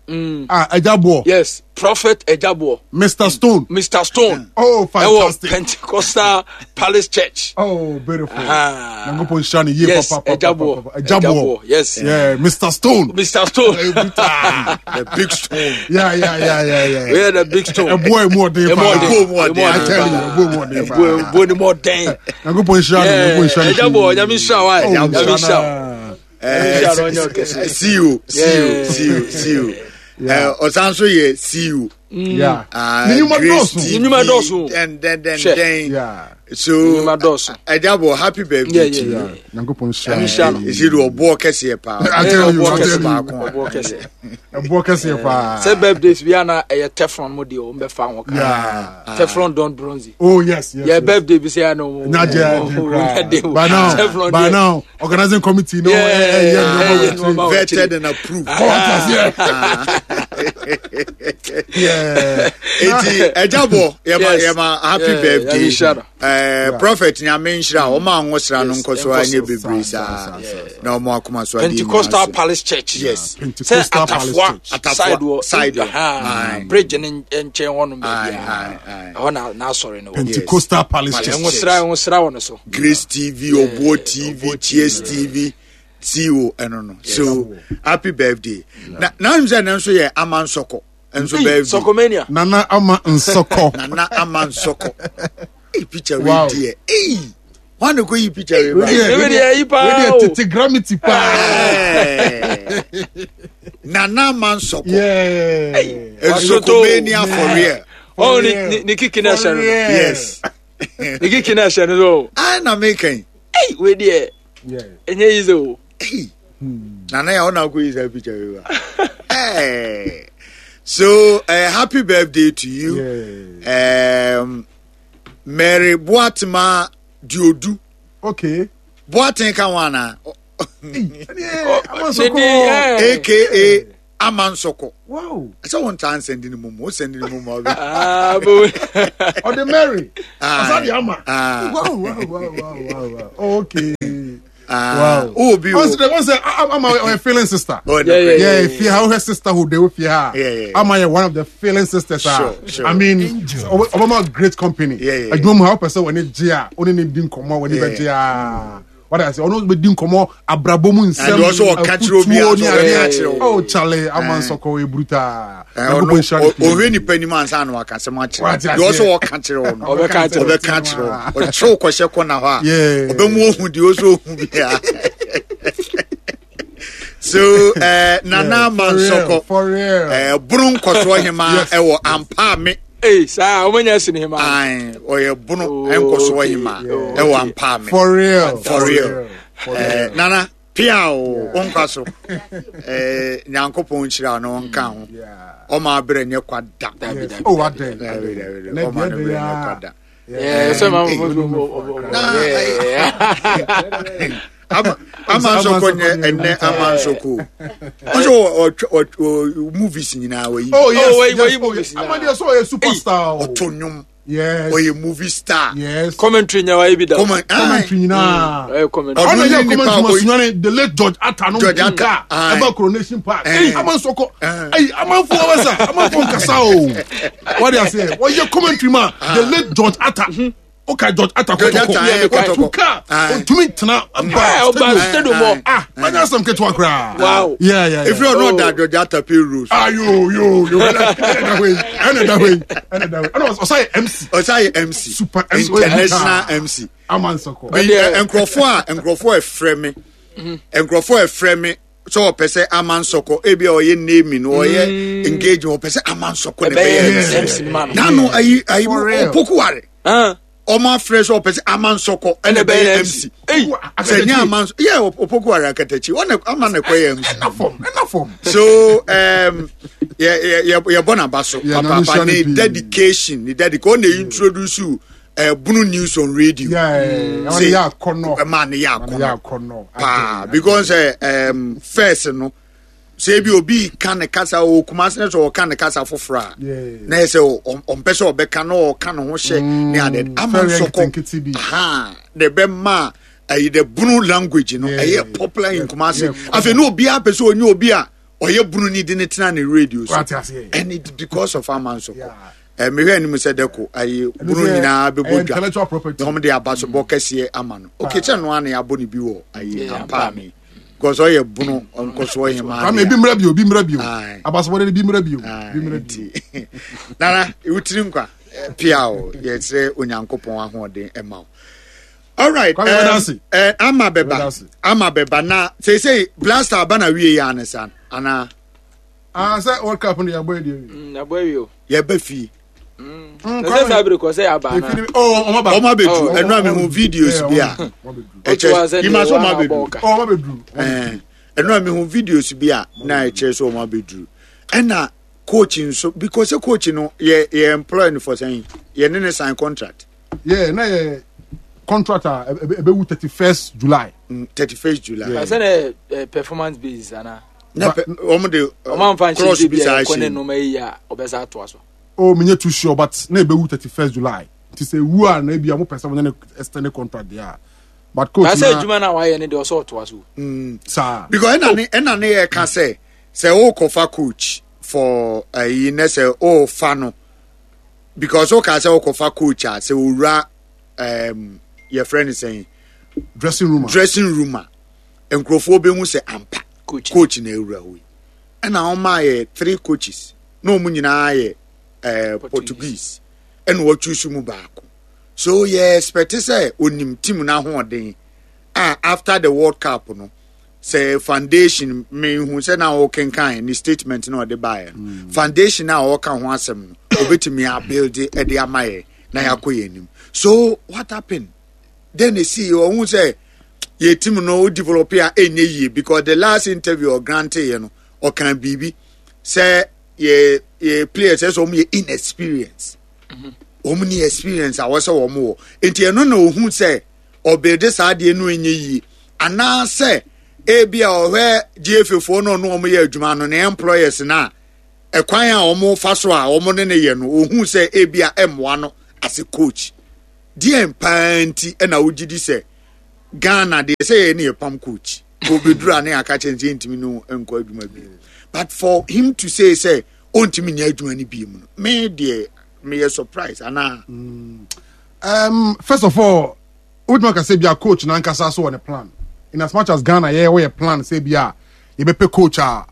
Mm. Ah, Ajabuo. Yes, Prophet Ajabuo. Mr. Stone. Mr. Stone. Oh, fantastic. Ewo Pentecostal Palace Church. Oh, beautiful. Ah. Nyankopɔn nhyira no yie yes, papa. Ajabuo. Ajabuo. Yes. Yeah, Mr. Stone. Mr. Stone. the big stone. Yeah, yeah, yeah, yeah, yeah. Yeah, the big stone. Ɛboɔ emu ɔden paa. Emu ɔden. Emu ɔden. I tell you, ɛboɔ emu ɔden paa. Ɛboɔ emu ɔden. Nyankopɔn nhyira no. Nyankopɔn nhyira no. Ajabuo, Nyame nhyira wa. Nyame nhyira wa. See you, see you, see you, see you. Ɔsan so yɛ see you. Yeah. Ne nnwuma dɔɔso. Ne nnwuma dɔɔso. Den den den den. Yeah. So nnwuma dɔɔso. Ɛdabɔ happy birthday to you. Nyankopɔn nhyira no. Esi de ɔboɔ kɛseɛ paa. I tell you, I tell you. Ɔboɔ kɛseɛ. Ɛboɔ kɛseɛ paa. Sɛ birthdays bi ana ɛyɛ teflon mo deɛ wɔn bɛ fa ho kan. Teflon don bronze. Oh yes, yes. Yɛ birthday bi sɛ ya no. Nya jɛ jɛ kura. By now, by now, organizing committee no. Yeah, yeah, yeah. Vetted and approved. Yeah. Eti ɛjabɔ yɛma yɛma happy birthday. Uh, prophet nyame nhyira wɔn a wɔn sra no nkɔ so anyɛ bebree saa na wɔn akoma so adeɛ Pentecostal Palace Church. Yes. Pentecostal Palace Church. Atafoa side wɔ bridge ne nkyɛn hɔ nom baabi a ɛhɔ na n'asɔre no wɔ. Pentecostal Palace Church. Ɛnwosra ɛnwosra wɔ no so. Grace TV, Obuo TV, Cheers TV, CEO ɛno no. So happy birthday. Na na n sɛ ne nso yɛ ama nsɔkɔ. Nso birthday. Sɔkɔmania. Nana ama nsɔkɔ. Nana ama nsɔkɔ. Hey, picture wow. Deɛ. Hey, wọn na kò yi picture wei ba. Wei deɛ yi paa o. Wei deɛ tete gravity paa. Nana Mansoko. Nsokomania for real. Oh, ni ni kiki na ɛhyɛ no. Yes. Ni kiki na ɛhyɛ no so. Ah, na mi kan. Hey, wei deɛ. Ɛnyɛ yi sɛ o. Nana yà ɔna kò yi sɛ picture wei ba. Hey. So, happy birthday to you. Yeah. Mary Boatema Diodu. Okay. Boateng ka ho ana? AKA Amansoko. Wow. Sɛ wɔn ntaa nsɛndi ne mu mu, o sɛndi ne mu mu ɔbɛ. Ah, bo. Ɔde Mary. Ɔsa de ama. Wow, wow, wow, wow, wow. Okay. Wow. Oh, be. Once the once I'm a feeling sister. Oh, yeah, yeah, yeah. If you have her sisterhood, they will feel her. Yeah, yeah. I'm one of the feeling sisters. Sure, sure. I mean, Obama great company. Yeah, yeah. I don't know how person when it jia, only need din komo when it jia. What I say, ono be din komo abrabo mu nsem. And also catch obi a. Oh, Charlie, I'm on soko e bruta. Ohwe nipa ni man san wa kasem akyerɛ. You also ɔka kyerɛ wo no. Ɔbɛka kyerɛ. Ɔbɛka kyerɛ wo. Ɔkyerɛ kɔhyɛ kɔ na hɔ a. Ɔbɛmu ohu di oso ohu bia. So Nana Mansoko. For real. Bunu nkɔsoɔ hema ɛwɔ Ampaame. Ee saa ɔmo nya sini hema. Ayi ɔyɛ bunu nkɔsoɔ hema ɛwɔ Ampaame. For real. For real. Nana pia o nkwa so. Nyankopɔn nhyira no ɔnka ho. Ɔma abrɛ nyɛ kwa da. Oh, adɛn. Ɔma no brɛ nyɛ kwa da. Sɛ ma Amansoko nyɛ ɛnɛ Amansoko. Ɔsɛ ɔ movies nyinaa wɔyi. Oh yes, yes, movies nyinaa. Amadeɛ sɛ ɔyɛ superstar. Ɔto nnwom. Yes. Ɔyɛ movie star. Yes. Commentary nyɛ wayɛ bi da. Commentary nyinaa. Ɔyɛ commentary. Ɔno yɛ commentary ma sunyane the late George Atta no George Atta. Ɛba Coronation Park. Ɛyi Amansoko. Ɛyi amanfo wɔbɛsa amanfo nkasa o. Wɔde aseɛ wɔyɛ commentary ma the late George Atta. Oka George Atta kɔtɔkɔ. Ɔtu kaa ɔtumi tena ba stadium hɔ. Ah wanya asɛm ketewa koraa. Wow. Yeah yeah. Efiri ɔno ɔda George Atta pay rules. Ah yo yo yo ɛna ɛda hɔ yi ɛna ɛda hɔ yi ɛna ɛda hɔ yi ɛna ɔsa yɛ MC. Ɔsa yɛ MC. Super MC. International MC. Amansoko. Nkurɔfoɔ a nkurɔfoɔ ɛfrɛ me nkurɔfoɔ ɛfrɛ me sɛ ɔpɛ sɛ Amansoko ebi a ɔyɛ naming ɔyɛ engagement ɔpɛ sɛ Amansoko na ɛbɛyɛ MC nanu ayi ayi opokuware ɔmo afrɛ sɛ ɔpɛ sɛ Amansoko ɛna ɛbɛyɛ MC sɛ nye Amansoko yɛ opokuware akatakyi ɔna ama na ɛkɔyɛ MC ɛna fam ɛna fam. So yɛ yɛ yɛ bɔ n'aba so papaapa ne dedication ne dedication ɔna introduce you. Bunu news on radio. Say ɛma ne yɛ akɔnɔ paa because first no sɛ ebi obi ka ne kasa o Kumasi ne sɛ ɔka ne kasa foforɔ a na yɛ sɛ ɔmpɛ sɛ ɔbɛka na ɔka ne ho hyɛ ne ade Amansoko ha de bɛ ma ɛyi the Bunu language no ɛyɛ popular in Kumasi afei ne obiara pɛ sɛ onye obi a ɔyɛ Bunu ni de ne tena ne radio so and it because of Amansoko. Mehwɛ anim sɛ dɛko ayi bunu nyinaa bɛbɔ dwa na wɔn de abasobɔ kɛseɛ ama no okay kyɛ no ana yɛabɔ ne bi wɔ ayi Ampaame because ɔyɛ bunu nkɔsoɔ hemaa kwame ebi mmerɛ bio ebi mmerɛ bio abasobɔ de bi mmerɛ bio bi mmerɛ bio nana wotiri nkwa pia o yɛsrɛ Onyankopɔn ahoɔden ɛma wo alright ama bɛba ama bɛba na seesei blaster aba na wie yɛ anesa anaa. Ah, sɛ World Cup no yɛabɔ yɛ deɛ wie. Yɛabɔ awie o. Yɛba fie. Sɛ saa bere kɔ sɛ yɛaba ana. Oh, ɔmo aba. Ɔmo abɛduru. Ɛnu a mehu videos bi a. Ɛkyɛ yima sɛ ɔmo abɛduru. Ɔmo abɛduru. Ɛnu a mehu videos bi a na ɛkyerɛ sɛ ɔmo abɛduru. Ɛna coach nso because sɛ coach no yɛ yɛ employ no for sɛn yɛ ne ne sign contract. Yeah, na yɛ contract a ɛbɛwu 31st July. 31st July. Sɛ na performance basis ana. na pɛ wɔn de wɔn anfa nhyɛ cross bi bi saa a ɛkɔ ne hyɛ mu nneɛma yi a ɔbɛsa atoa so. Oh, menyɛ too sure but na ɛbɛwu 31st July nti sɛ ewu a na ebi a mo pɛ sɛ mo ne no extend contract deɛ a but coach Baasa na adwuma no a wayɛ no deɛ ɔsɛ ɔtoa so. saa because ɛna ne ɛna ne yɛ ka sɛ sɛ ɔrekɔfa coach for ɛyi ne sɛ ɔrefa no because ɔka sɛ ɔrekɔfa coach a sɛ owura yɛfrɛ no sɛn dressing room a dressing room a nkurɔfoɔ bɛhu sɛ ampa Coach. coach na awura hɔ yi ɛna wɔn ayɛ three coaches na wɔn nyinaa yɛ Portuguese ɛna wɔatwi so mu baako. So yɛ expect sɛ onim team no ahoɔden a after the World Cup no sɛ foundation mehu sɛ na ɔkenkan ne statement na ɔde baeɛ no mm. foundation a ɔka ho asɛm no obetumi abuild ɛde ama yɛ na yɛakɔ yɛn anim so what happened then esi ɔhu sɛ yɛ team no o develop a ɛnyɛ yie because the last interview ɔgrante yɛ no ɔkan biribi sɛ yɛ yɛ players ɛsɛ wɔn yɛ inexperience wɔn ni experience a wɔsɛ wɔn wɔ nti ɛno na ohun sɛ ɔbɛde saa adeɛ no nyɛ yie anaasɛ ebi a ɔhwɛ gfa foɔ no ɔno wɔn yɛ adwuma no ne employers na ɛkwan a wɔn fa so a wɔn ne ne yɛ no ohun sɛ ebi a ɛmmoa no as a coach deɛ paa nti ɛna wogye di sɛ ghana deɛ sɛ yɛ ne yɛ pam coach obeduru a ne aka kyɛn sɛ ntumi no nkɔ adwuma bi but for him to say sɛ ɔntumi nyɛ adwuma no bi mu no me deɛ meyɛ surprise anaa. Mm. Um, first of all wotumi aka sɛ bia coach nankasa so wɔ ne plan in as much as ghana yɛ wɔyɛ plan sɛ bia yɛbɛpɛ coach a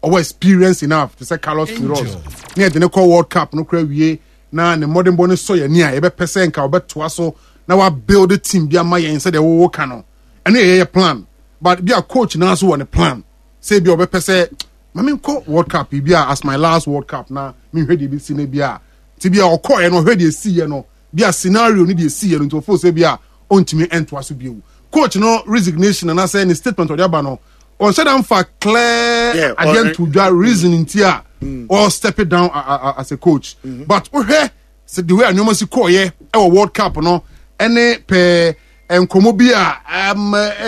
ɔwɔ experience enough te sɛ carlos queiroz ne yɛde ne kɔ world cup no kora wie na ne mmɔdenbɔ no sɔ yɛn ani a yɛbɛpɛ sɛ nka ɔbɛtoa so na wabuild team bi ama yɛn sɛdeɛ wɔwɔ ka no ɛno yɛ yɛyɛ plan but bi a coach naa so wɔ ne plan sɛ bi a ɔbɛpɛ sɛ ma menkɔ world cup bi a as my last world cup na menhwɛ deɛ ɛbɛsi no bi a nti bi a ɔkɔɛ no ɔhwɛ deɛ ɛsiiɛ no bi a scenario ne deɛ ɛsiiɛ no nti ɔfo sɛ bi a ɔntumi ntoa so bio coach no resignation anaasɛ ne statement ɔde aba no ɔnhyɛ da nfa clear adeɛ nto dwa reason nti a ɔ step it down as a coach mm-hmm. but wohwɛ sɛ the way a nneɛma si kɔɔyɛ ɛwɔ world cup no ɛne pɛɛ nkɔmɔ bi a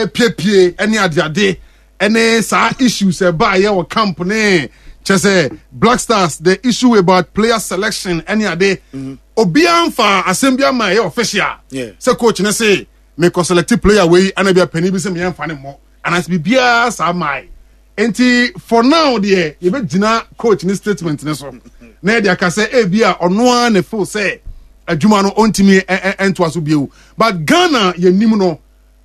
ɛpiepie ɛne adeade ɛne saa issues ɛbaayɛ wɔ camp ne kyɛ sɛ black stars the issue about player selection ɛne ade mm-hmm. obiara nfa asɛm bi ama ɛyɛ official sɛ coach ne se mekɔ select player wei ɛna bi a panin bi sɛ meyɛ nfa ne mmɔ anaasɛ biribiara saa mae nti for now deɛ yɛbɛgyina coach ne statement ne so na yɛde aka sɛ ebi a ɔno ara ne feel sɛ adwuma no ɔntumi ntoa so bio but ghana yɛnim no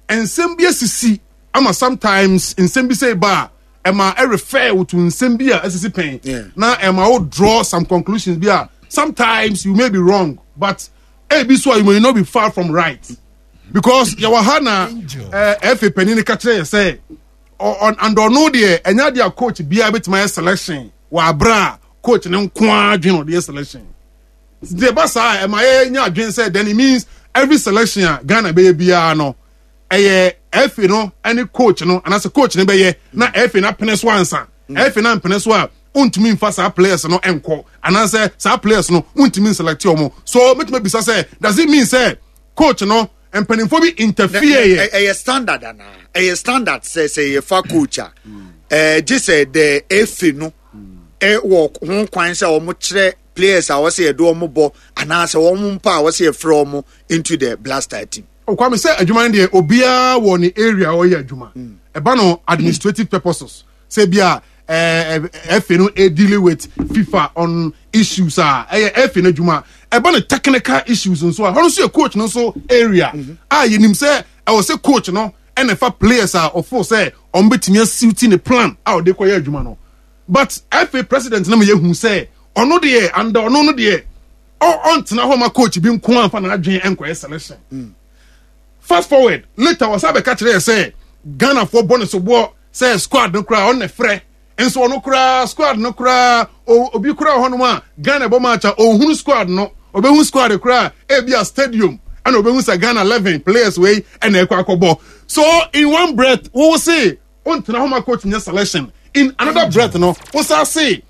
nsɛm bi asisi ama sometimes nsɛm bi sɛ ba a ɛma ɛrefer to nsɛm bi a asisi pɛn na ɛma wo draw some conclusions bi a sometimes you may be wrong but ebi so a you may not be far from right because yɛwɔ ha na ɛfɛ panyin no ka kyerɛ yɛ sɛ and ɔno deɛ ɛnyɛ adeɛ a coach biara bɛtumi ayɛ selection wɔ abere a coach ne nko ara dwen ɔde yɛ selection nti ɛba saa ɛma yɛnya adwen sɛ then it means every selection a Ghana bɛyɛ biara no ɛyɛ ɛfɛ no ɛne coach no anaasɛ coach no bɛyɛ na ɛfɛ no apene so ansa ɛfɛ no ampene so a wontumi nfa saa players no nkɔ anaasɛ saa players no wontumi nselect wɔn so mɛtumi bisa sɛ does it mean sɛ coach no mpanimfoɔ bi interfere yɛ. ɛyɛ standard anaa ɛyɛ standard sɛ sɛ yɛfa coach a ɛɛ gye sɛ the efe no ɛwɔ ho kwan sɛ wɔn kyerɛ players a wɔsɛ yɛde wɔn bɔ anaasɛ wɔn mpa a wɔsɛ yɛfrɛ wɔn into the blaster team. Kwame sɛ adwuma no deɛ obiara wɔ ne area a ɔyɛ adwuma ɛba no administrative purposes sɛ bi a ɛfɛ no dealing with FIFA on issues a ɛyɛ ɛfɛ no adwuma ɛba no technical issues nso a hɔ nso yɛ coach no nso area mm-hmm. a yɛnim sɛ ɛwɔ sɛ coach no ɛna ɛfa players a ɔfo sɛ wɔn bɛtumi asiwti ne plan a ɔde kɔyɛ adwuma no but ɛfɛ president no ma yɛhu sɛ ɔno deɛ anda ɔno no deɛ ɔntena hɔ ma coach bi nko anfa n'adwene nkɔyɛ selection mm. fast forward later wɔsan bɛka kyerɛ yɛ sɛ ghanafoɔ bɔ ne soboɔ sɛ squad no koraa ɔno na frɛ nso ɔno koraa squad no koraa obi koraa wɔ hɔnom a ghana bɔ match a ɔnhunu squad no ɔbɛhu squad koraa ebi a stadium ɛna ɔbɛhu sɛ ghana 11 players wei ɛna ɛkɔ akɔbɔ so in one breath wo se ɔntena hɔ ma coach nyɛ selection in another breath no wo sa se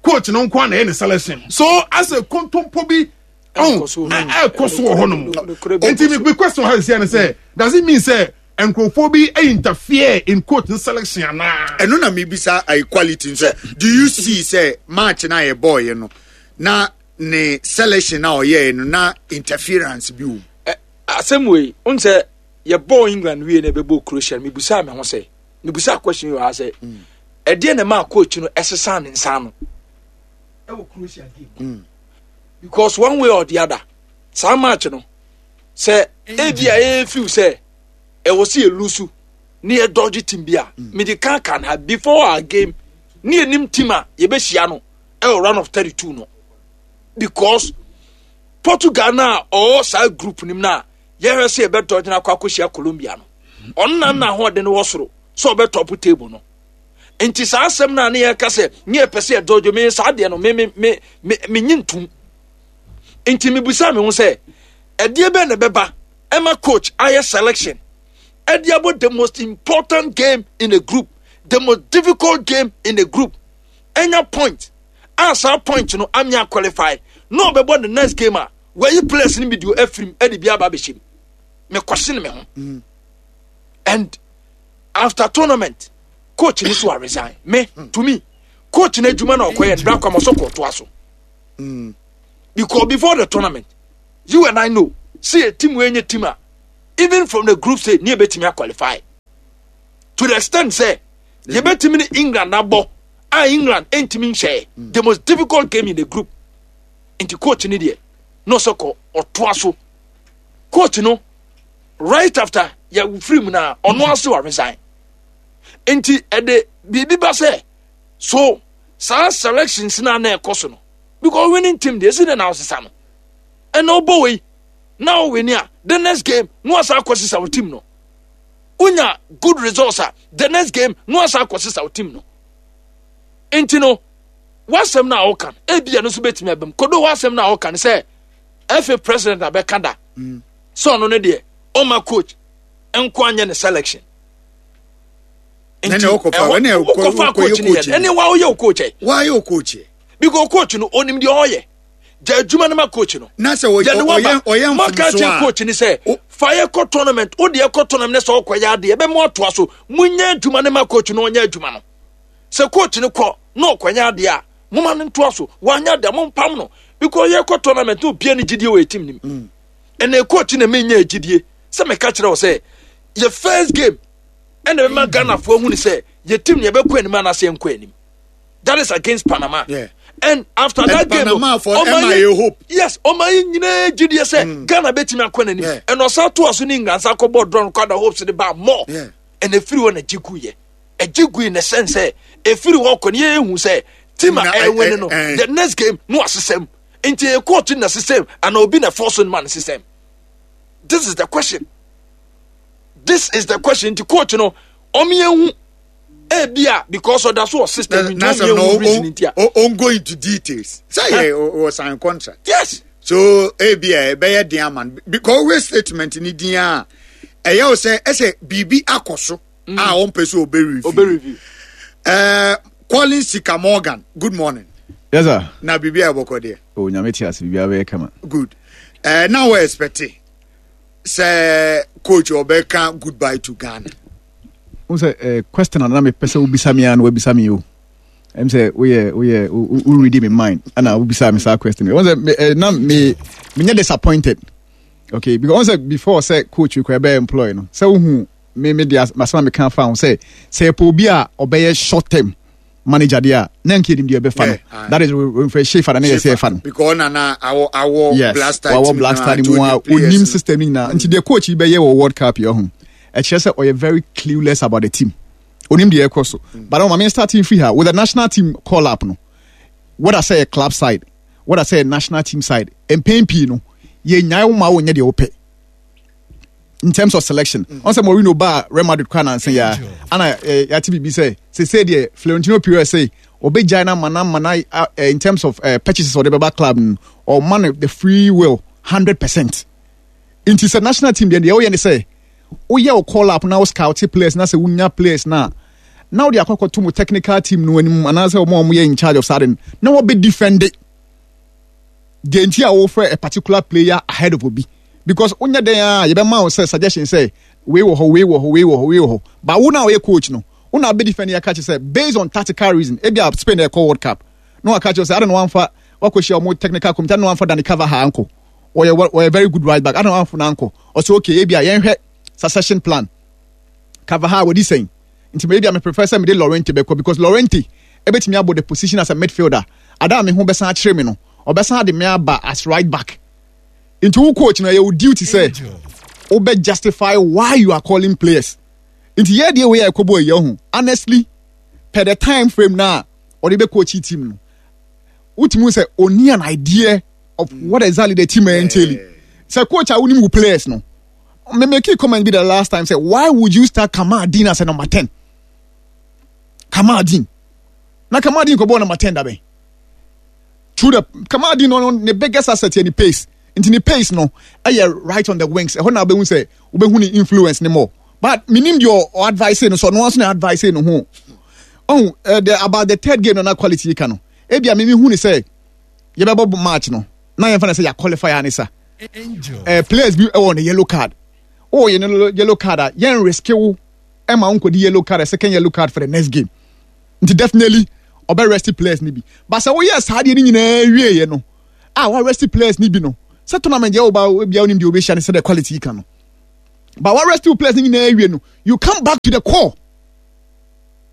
coach no nko na ɛyɛ ne selection so asɛ kontompo bi ɛkɔ so wɔ hɔnom nti mi question ha sisi ɛne sɛ does it mean sɛ nkurɔfoɔ bi interfere in coach no selection anaa. ɛno na mebisa equality nso do you see sɛ match na yɛ bɔɔyɛ no na ne selection na ɔyɛɛ no na interference bi wɔ. asɛm wei n sɛ yɛbɔɔ england wie na ɛbɛbɔ croatia no mebusaa me ho sɛ mebusaa question yi wɔ ha sɛ ɛdeɛ na ɛmaa coach no ɛsesaa ne nsa ano ɛwɔ croatia game mm. because one way or the other saa match no sɛ ebi a ɛyɛ feel sɛ ɛwɔ sɛ yɛ lusu ne yɛ dɔgye team bi a mm. mede kan kan ha before our game ne yɛnim team a yɛbɛhyia no ɛwɔ round of 32 no because. Portugal no a ɔwɔ saa group no mu no a yɛhwɛ sɛ yɛbɛtɔ gyina akɔ akɔhyia Colombia no, ɔno na na ahoɔden wɔ soro sɛ ɔbɛtɔpo table no. Nti saa asɛm no a ne yɛka sɛ ne yɛpɛ sɛ yɛdɔdwo me saa deɛ no me me me me menye ntom. Nti mebusa me ho sɛ ɛdeɛ bɛn na ɛbɛba ɛma coach ayɛ selection ɛde abɔ the most important game in a group, the most difficult game in a group, ɛnya point a saa point no amia qualify na ɔbɛbɔ the next game a wɔayi players no bi de afirim ɛde bi aba abɛhyɛ mu. Mekɔhyene me ho. Mm. And after tournament coach ni so a resign me to me coach na adwuma na ɔkɔyɛ no bra kwam ɔsɔ kɔɔtoa so mm. because before the tournament you and I know see a team wey nye team a even from the group stage ne ebetumi qualify to the extent sɛ yɛbɛtumi ne England abɔ a England ntumi nhyɛ mm. the most difficult game in the group nti coach ni deɛ na ɔsɛ kɔ ɔtoa so coach no right after yɛ firi mu na ɔno ase wa resign nti ɛde biribi ba sɛ so saa selections na na ɛkɔ so no because winning team deɛ esi na na ɔsesa no ɛna ɔbɔ wei na ɔwini a the next game na wasa akɔ sesa wɔ team no wonya good results a the next game na wasa akɔ sesa wɔ team no nti no wasɛm no a ɔka no ebi ɛno nso betumi abam kodo wasɛm no a ɔka no sɛ ɛfɛ president abɛka da. Mm. sɛ ɔno no deɛ ɔma coach nko anyɛ ne selection nti wokɔfa coach no yɛ ɛne wa woyɛ wo coach ɛ wayɛ wo coach ɛ because coach no onim deɛ ɔyɛ gya adwuma no ma coach no na sɛ ɔyɛ maka kyerɛ coach no sɛ fa yɛ kɔ tournament wo deɛ kɔ tournament ne sɛ ɔkɔyɛ adeɛ ɛbɛmo atoa so monyɛ adwuma no ma coach no ɔnyɛ adwuma no sɛ coach no kɔ na ɔkɔnyɛ adeɛ a moma no ntoa so wanyɛ adeɛ mompam no because yɛkɔ tournament na obia ne gyidie wɔ ɛtim nim mm. Ɛnna coach na menya gyidie sɛ meka kyerɛ wo sɛ yɛ first game ɛna bɛma Ghanafoɔ ahunu sɛ yɛ team no yɛbɛkɔ anim anaasɛ yɛnkɔ anim. That is against Panama. Yeah. And after and that game, Panama for Emma yɛ hope. Yes, ɔma yɛ nyinaa gyidie sɛ mm. Ghana bɛtumi akɔ n'anim. Yeah. Ɛna ɔsan to aso ne England san kɔbɔ draw no kɔ hopes de ba more. Yeah. Ɛna efiri hɔ na gye gu yɛ. Ɛgye gu in the sense sɛ efiri hɔ kɔ ne yɛ ehu sɛ team a ɛwɛne no the next game no asesɛm. Nti ɛyɛ court na system ana obi na force no ma no system? This is the question. This is the question. Nti court no ɔmo yɛn hu ebi a because ɔda so wɔ system nti ɔmo yɛn hu reason nti a. O go into details. Sɛ yɛ o sign contract. Yes. So ebi a ɛbɛyɛ den ama no because always statement ni din a ɛyɛ o sɛ ɛsɛ biribi akɔ so a ɔmpɛ sɛ ɔbɛ review. Ɔbɛ review. Ɛɛ Collins Sika Morgan good morning. Yes sir. Na biribi a ɛbɔkɔ deɛ. O oh, nyame te ase biribi abɛyɛ kama. Good. Uh, na wɔ expect sɛ coach ɔbɛka goodbye to Ghana. N sɛ eh, question na mepɛ sɛ wobisa me a na wabisa me o. Ɛm sɛ woyɛ woyɛ wo read me mind ana wobisa me saa question. Wɔn sɛ eh, na me menyɛ disappointed. Okay, because wɔn sɛ before sɛ coach kura bɛyɛ employ no sɛ wohu me me de asɛm a meka fa ho sɛ sɛ yɛpɛ obi a ɔbɛyɛ short term manager deɛ a na nka yɛnim deɛ ɛbɛfa no that is mfɛ shefa na ne yɛ sɛ ɛfa no because na awɔ awɔ yes black star wawɔ black star no mu a onim system no nyinaa nti deɛ coach yi bɛyɛ wɔ world cup yɛ ho ɛkyerɛ sɛ ɔyɛ very clueless about the team onim deɛ ɛkɔ so but ɔma me starting free ha with the national team call up no whether sɛ yɛ club side whether sɛ yɛ national team side mpɛn pii no yɛnyae wo ma wonyɛ deɛ wopɛ in terms of selection ɔn mm. sɛ Mourinho ba Real Madrid kora nansa yi ana eh, yɛate biribi sɛ sese deɛ Florentino Perez sɛ ɔbɛgyae no ama no ama no eh, in terms of eh, purchases ɔde bɛba club no ɔma no the free will 100% nti sɛ national team deɛ deɛ woyɛ ne sɛ woyɛ wo call up na wo scout players na sɛ wonya players na na wode akɔkɔto mu technical team no anim anaasɛ wɔn a wɔyɛ in charge of saa de no na wɔbɛ defend it deɛ nti a wofrɛ a particular player ahead of obi because wonyɛ dɛn a yɛbɛma wo sɛ suggestion sɛ wei wɔ hɔ wei wɔ hɔ wei wɔ hɔ wei wɔ hɔ but wo na ɔyɛ coach no wo na abɛdi fɛn yɛka kyerɛ sɛ based on tactical reason ebi a Spain ɛkɔ World Cup na waka kyerɛ sɛ ada na wamfa wakɔhyia wɔn technical committee ada na wamfa Dani Carvajal ankɔ ɔyɛ ɔyɛ very good right back ada na wamfa no ankɔ ɔsɛ okay ebi a yɛnhwɛ succession plan Carvajal wɔdi sɛn Nti me deɛ me prefer sɛ mede Llorente bɛkɔ because Llorente ɛbɛtumi abɔ the position as a midfielder. Ada a me ho bɛsan akyere me no, ɔbɛsan de me aba as right back. Nti wo coach no ɛyɛ wo duty sɛ wobɛ justify why you are calling players. Nti yɛ deɛ wei a ɛkɔbɔ yi ɔho honestly per the time frame na ɔde bɛ coach team no wotumi sɛ ɔni an idea. of what exactly the team entail. Sɛ coach a wonim wo players no, me make a comment be the last time say why would you start Kamaldeen as a number 10? Kamaldeen. Na Kamaldeen kɔbɔ number 10 dabɛn. Through the Kamaldeen no ne biggest asset yɛ ne pace. Nti ne pace no ɛyɛ right on the wings. Ɛhɔ na wobɛhu sɛ wobɛhu ne influence ne more. But menim deɛ ɔ advice no so ɔno nso na advice no ho. Oh, the, about the third game no na quality yi ka no. Ebia me mehu ne sɛ yɛbɛbɔ match no na yɛmfa no sɛ yɛ qualify a ne sa. Players bi wɔ ne yellow card. Oh, yɛ no yellow card a yɛn risk wo ɛma wo nkɔdi yellow card, a second yellow card for the next game. Nti definitely ɔbɛ rest players no bi. But sɛ woyɛ saa deɛ no nyinaa wieɛ no a wa rest players no bi no sɛ tournament deɛ woba bia wonim deɛ wobɛhyia no sɛ the quality yi ka no. But wa rest players no nyinaa wie no you come back to the core.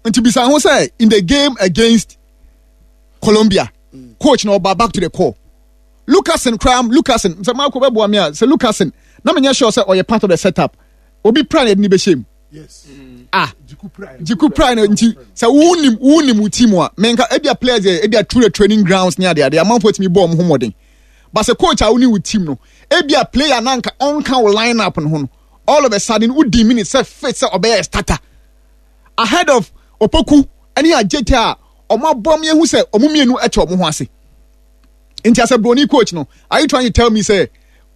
Nti bisa ho sɛ in the game against Colombia coach na ɔba back to the core. Lukasen koraa Lukasen sɛ Marco bɛboa me a sɛ Lukasen na menyɛ sure sɛ ɔyɛ part of the setup obi pra na yɛde ne bɛhyɛ mu. Yes. Ah, Jiku pra na nti sɛ wonim wonim wo team a menka ebia players yɛ ebia through the training grounds ne ade ade amanfoɔ tumi bɔ ɔmo ho mmɔden. But sɛ coach a wone wo team no ebia player na nka ɔnka wo line up no ho no all of a sudden wodi minute sɛ fit sɛ ɔbɛyɛ starter ahead of Opoku ne Adjetey a ɔmo abɔ ɔmo ehu sɛ ɔmo mmienu ɛte ɔmo ho ase. Nti as a broni coach no, are you trying to tell me sɛ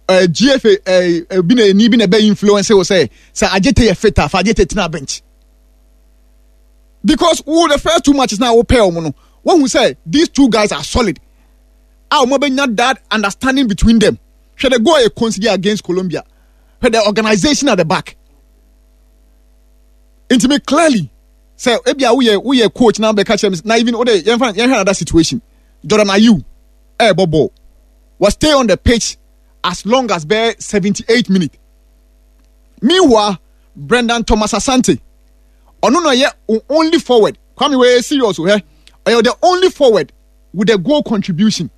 GFA bi na ni bi na ɛbɛ influence wo sɛ sɛ Adjetey yɛ fit a fa Adjetey tena bench? Because wo the first two matches na wo pair ɔmo no, wohu sɛ these two guys are solid. A ɔmo abɛnya that understanding between them. Hwɛ the goal a yɛ concede against Colombia. Hwɛ the organization at the back. Nti me clearly sɛ ebi a woyɛ woyɛ coach na bɛka kyerɛ me na even wode yɛmfa yɛnhwɛ another situation. Jordan Ayew ɛɛbɔ ball. Was stay on the pitch as long as bɛyɛ 78 minutes. Meanwhile, Brendan Thomas Asante ɔno na ɔyɛ only forward. Kwame wei serious o hɛ. Ɔyɛ the only forward with a goal contribution.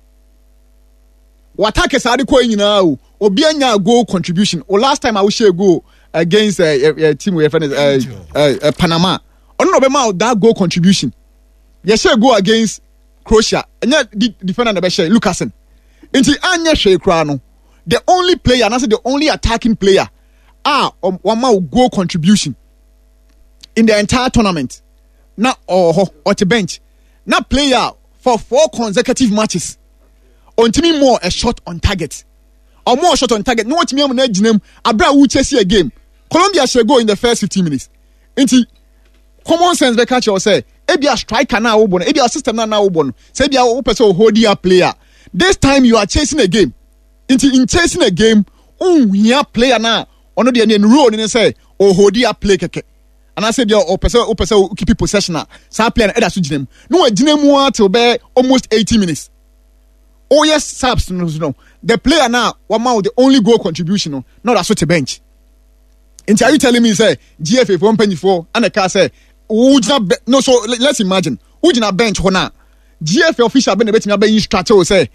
Watake saa de kɔ yi nyinaa o. Obi anya goal contribution. O last time a wohyɛ goal against team wey yɛfrɛ no Panama. Ɔno na ɔbɛma that goal contribution. Yɛhyɛ goal against Croatia. Ɛnyɛ defender na ɛbɛhyɛ Lukasen. Nti anyɛ hwee koraa no. The only player, anaasɛ the only attacking player a wama wo goal contribution in the entire tournament na ɔwɔ hɔ ɔte bench na player for 4 consecutive matches ɔntumi mmɔɔ a shot on target. Ɔmmɔɔ shot on target na wɔntumi ama no agyina mu abere a wokyɛ a game. Colombia hyɛ goal in the first 15 minutes. Nti common sense bɛka kyerɛ wo sɛ ebia striker na wobɔ no, ebia system na na wobɔ no, sɛ ebia wopɛ sɛ hold up player. This time you are chasing a game. Nti in chasing a game, wonhia player na ɔno deɛ ne role ne sɛ ɔhold up play kɛkɛ. Anaasɛ ebia ɔpɛ sɛ wopɛ sɛ keep possession a saa player no ɛda so gyina mu. Na wagyina mu ara till bɛyɛ almost 80 minutes. Woyɛ subs no so no, the player na wama wo the only goal contribution no na ɔda so te bench. Nti are you telling me sɛ GFA foɔ mpanyinfoɔ ana ɛka sɛ wogyina bɛ no so let's imagine wogyina bench hɔ na GFA official bɛ na ebetumi abɛ instruct wo sɛ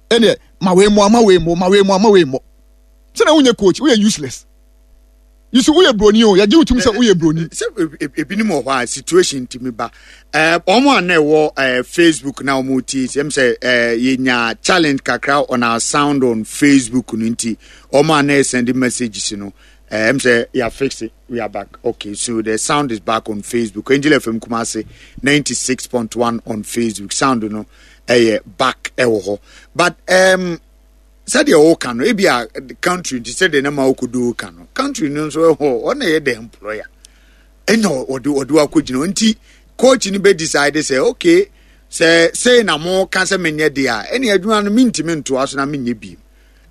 ɛnɛ ma wei mo ama wei mo ma wei mo ama wei mo sɛ na wonyɛ coach woyɛ useless. You see, woyɛ broni o yɛgye wo tum sɛ woyɛ broni. Sɛ ebinom wɔ hɔ a situation ntumi ba wɔn a na ɛwɔ Facebook na wɔn ti sɛm sɛ yɛnya challenge kakra on our sound on Facebook no nti wɔn a na ɛsɛn messages no ɛm sɛ yɛ fix it we are back okay so the sound is back on Facebook Angel FM Kumasi 96.1 on Facebook sound no ɛyɛ back ɛwɔ hɔ but sɛdeɛ wɔka no ebi a country nti sɛdeɛ na ma okodo ka no country no nso ɛhɔ ɔna yɛ the employer ɛna ɔde ɔde wakɔgyina nti coach no bɛ decide sɛ okay sɛ sei na mo ka sɛ menyɛ deɛ a ɛne adwuma no mentumi ntoa so na menyɛ bi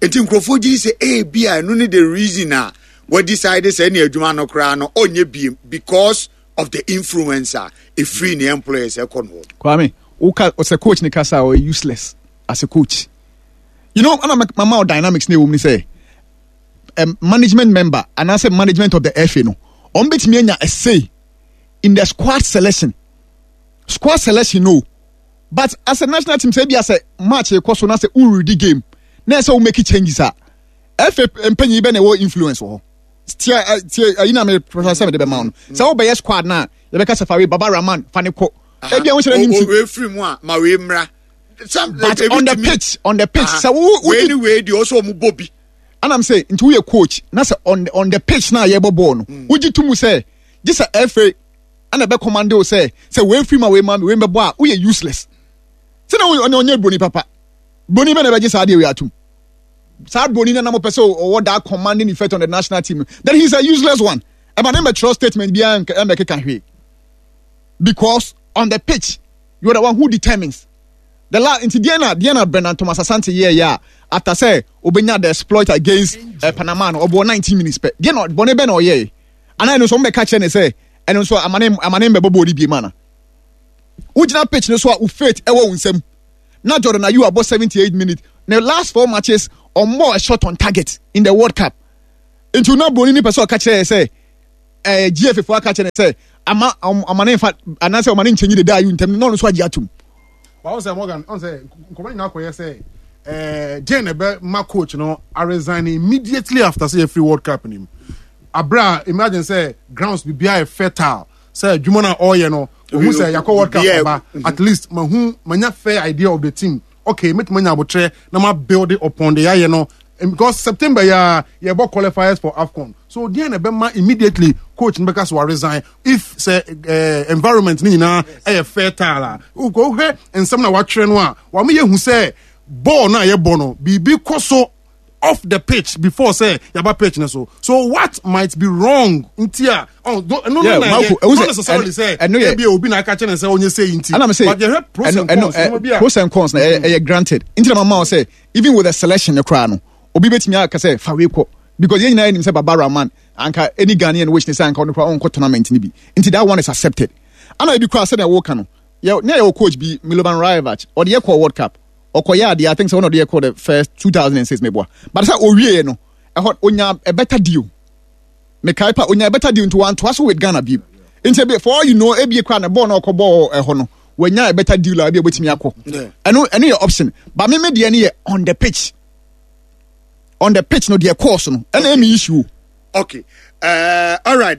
nti nkurɔfoɔ gye sɛ ebi a ɛno ne the reason a wɔ decide sɛ ɛne adwuma no koraa no ɔnyɛ bi because of the influence a ɛfiri ne employers ɛkɔ no hɔ. Kwame, woka ɔsɛ coach ne kasa a ɔyɛ useless as a coach. You know, ana mama dynamics na ɛwɔ mu ne sɛ management member anaasɛ management of the FA no wɔn bɛtumi anya a say in the squad selection. Squad selection no, but as a national team sɛ ebi asɛ match ekɔ so na sɛ wuredi game na ɛsɛ wo make changes a FA mpanyin bɛ na ɛwɔ influence wɔ hɔ. Tie tie ayi na me professor sɛ me de bɛma wo no sɛ wobɛyɛ squad na yɛbɛka sɛ fa wei Baba Rahman fa ne kɔ ebi a wo hyɛ n'anim ti wei firi mu a ma wei mmra. some But on the pitch, on the pitch, sɛ wo wei ni wei deɛ ɔsɛ ɔmo bɔ bi. Anam sɛ nti woyɛ coach na sɛ on the, on the pitch na yɛbɔ bɔɔl no, wogye to mu sɛ gye sɛ FA ɛna ɛbɛ command wo sɛ sɛ wei firi ma wei ma wei bɛbɔ a woyɛ useless. Sɛ na ɔnyɛ ɔnyɛ broni papa. Broni bɛ na ɛbɛgye saa adeɛ wei atum. Saa broni na na mo pɛ sɛ ɔwɔ that commanding effect on the national team. Then he's a useless one. Ɛma ne mbɛtwerɛ statement biara ɛmbɛkeka hwee. Because on the pitch you are the one who determines the last nti deɛ na deɛ na Bernard Thomas Asante yɛɛ yɛ a after sɛ obenya the exploit against Panama no ɔbɔ 19 minutes pɛ deɛ na bɔne bɛ na ɔyɛɛ anaa ɛno nso ɔmo bɛka kyerɛ ne sɛ ɛno nso amane amane mbɛbɔ bɔɔl no bie mu ana wogyina pitch no so a wo faith ɛwɔ wo nsam na Jordan Ayew abɔ 78 minutes ne last four matches ɔmmɔ a shot on target in the World Cup nti na broni ni pɛ sɛ ɔka kyerɛ yɛ sɛ ɛɛ GFA fo aka kyerɛ ne sɛ ama ɔma ne nfa anaasɛ ɔma ne nkyɛnyi deda ayi ntɛm na ɔno nso agye atum. Wɔn sɛ Morgan ɔn sɛ nkɔmɔ nyinaa kɔyɛ sɛ ɛɛ Jane ɛbɛ ma coach no a resign immediately after sɛ yɛfiri World Cup nim abira imagine sɛ grounds biribiara yɛ fertile sɛ adwuma no a ɔreyɛ no ohun sɛ yakɔ World Cup aba at least mahu manya fair idea of the team okay mɛtumi anya abotrɛ na ma build upon the yɛayɛ no because September yɛ a yɛbɔ qualifiers for AFCON so deɛ na ɛbɛma immediately coach no bɛka so wa resign if sɛ eh, environment no nyinaa ɛyɛ fertile a wohwɛ nsɛm na watwerɛ no a wɔn yɛ hu sɛ bɔɔl no a yɛbɔ no biribi kɔ so off the pitch before say yaba pitch ne so so what might be wrong nti a oh no no no na yɛ not necessarily say ebi obi na aka kyerɛ ne sɛ onye say nti but yɛhwɛ pros and cons eh, pros and cons na ɛyɛ mm. granted nti na mama sɛ even with the selection ne koraa no obi betumi aka sɛ fa wei kɔ because yɛn nyinaa nim sɛ Baba Rahman anka any Ghanaian wish ne sɛ anka ɔno koraa ɔnkɔ tournament no bi nti that one is accepted ana ebi koraa sɛdeɛ wɔka no yɛ ne yɛ wɔ coach bi Milovan Rajevac ɔde yɛ kɔ World Cup ɔkɔyɛ adeɛ I think sɛ ɔna ɔde yɛ kɔ the first 2006 meboa but sɛ ɔwieɛ no ɛhɔ onya a better deal mekae pa onya a better deal nti wantoa so with Ghana bio nti ebi for all you know ebi kora na bɔɔl na ɔkɔ bɔɔl ɛhɔ no wanya a better deal a ebi obetumi akɔ ɛno ɛno yɛ option but me me deɛ no yɛ on the pitch on the pitch no deɛ course no ɛna ɛmi issue. Okay. All right.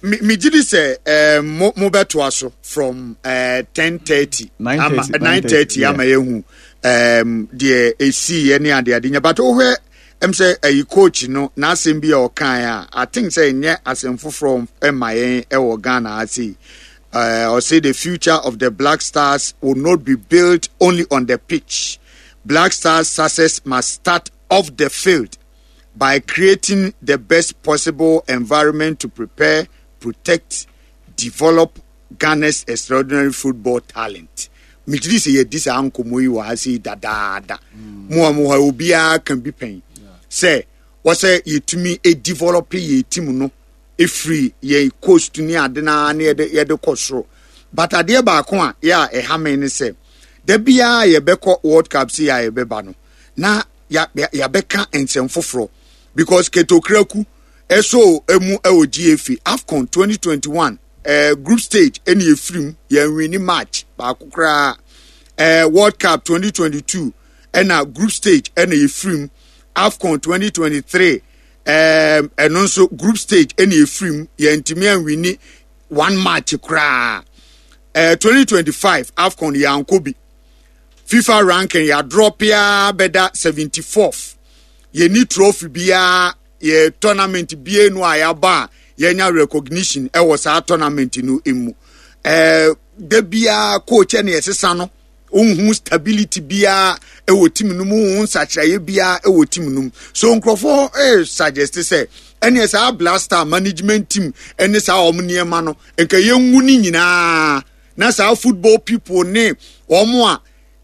Me gidi sɛ mo mo bɛtoa so from 10:30 ama 9:30 ama yɛhu deɛ esi yɛ ne ade ade nya but wohwɛ ɛm sɛ ɛyi coach no n'asɛm bi a ɔkae a I think sɛ ɛnyɛ asɛm foforɔ ɛma yɛn ɛwɔ Ghana ase yi. Ɔse the future of the Black Stars will not be built only on the pitch. Black Stars success must start off the field by creating the best possible environment to prepare, protect, develop Ghana's extraordinary football talent. Megye di sɛ yɛdi saa nkɔmmɔ yi wɔ ha sei dadaada. Mo a mo hɔ obiara ka bi pɛn sɛ wɔsɛ yɛtumi develop yɛ team no ɛfiri yɛn coast ne ade no ara ne yɛde yɛde kɔ soro. But adeɛ baako a yɛ a ɛha me ne sɛ da biara yɛbɛkɔ World Cup sei a yɛbɛba no na yɛabɛka nsɛm foforɔ because Ketokraku ɛso emu ɛwɔ GFA AFCON 2021 eh, group stage ɛna yɛfiri mu yɛnwini match baako koraa eh, World Cup 2022 ɛna group stage ɛna yɛfiri mu AFCON 2023 eh, ɛno nso group stage ɛna yɛfiri mu yɛntumi anwini one match koraa eh, 2025 AFCON yɛankɔ bi FIFA ranking yɛadrɔpe ara bɛda 74th. Yɛnni trophy biara, yɛ tournament bie no a yɛaba a yɛnya recognition ɛwɔ saa tournament no mu. Ɛɛ da biara coach ɛna yɛsesa no, wohu stability biara ɛwɔ team no mu, wohu nsakyeraeɛ biara ɛwɔ team no mu. So nkurɔfoɔ ɛɛ suggest sɛ ɛneɛ saa Blaster management team ɛne saa wɔn nneɛma no nka yɛngu ne nyinaa. na saa football people ne wɔn a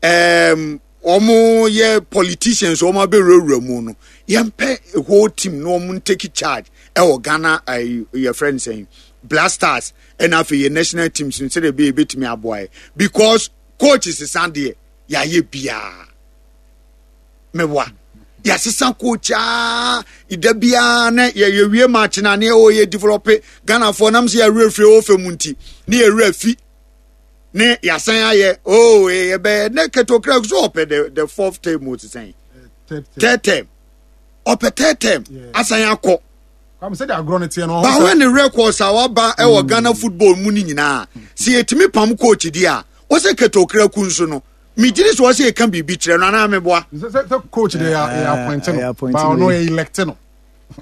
um, wɔn yɛ politicians wɔn abɛwurawura mu no yɛmpɛ whole team na wɔn take charge ɛwɔ Ghana ɛyɛ yɛfrɛ no sɛn Black Stars ɛna afei yɛ national teams no sɛdeɛ ɛbɛyɛ ebɛtumi aboa yɛ because coach sesa deɛ yɛayɛ biara mɛwa yɛasesa coach aa da biara na yɛwie match na ne ɛwɔ yɛ develop Ghanafoɔ nam sɛ yɛwerɛ firi ɛwɔ fam nti ne yɛwerɛ fi ne yɛasan ayɛ oh yɛbɛyɛ ne ketokra so ɔpɛ the the fourth term o sesɛn third term ɔpɛ third term asan akɔ bawɛ ne records a waba ɛwɔ mm. Ghana football mu no nyinaa sɛ yɛtumi pam coach di a wɔsɛ ketokra ku nso no. Megyere sɛ ɔsɛ yɛka biribi kyerɛ no anaa meboa. Sɛ coach de yɛ appoint no, ba ɔno yɛ elect no.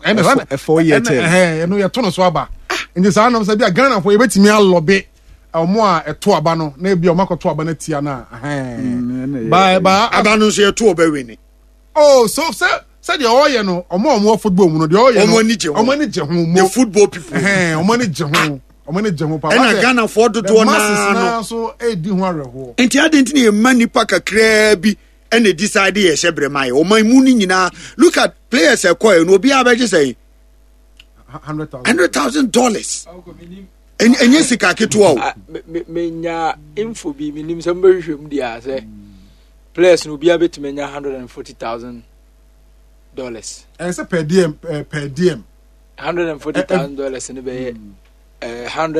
Ɛna 4 year term. Ɛno yɛto no so aba. Nti saa nam sɛ bi a Ghana fo yɛbɛtumi alobby ɔmo a ɛto aba no na ebi ɔmo akɔto aba no tia no a. Ba aba no nso yɛto ɔbɛ wini. Oh, so sɛ sɛdeɛ ɔyɛ no, ɔmo a ɔmo wɔ football mu no, deɛ ɔyɛ no, ɔmo ani gye ho, ɔmo ani gye ho mo. The football people. Ɔmo ani gye ho, ɔmo ani gye ho paa. Ɛna Ghana foɔ dodoɔ naa no nso edi ho awerɛhoɔ. Nti adi nti na yɛ mma nipa kakraa bi ɛna decide yɛ hyɛ brɛ ma yɛ ɔman mu no nyinaa. Look at players ɛkɔ yɛ no, obiara bɛgye sɛn? $100,000. Ɛnyɛ sika ketewa o. Ah, menya info bi, menim sɛ mobɛhwehwɛ mu deɛ a, sɛ players no obiara bɛtumi anya $140,000. Ɛyɛ sɛ per diem, per diem. $140,000 no bɛyɛ 100.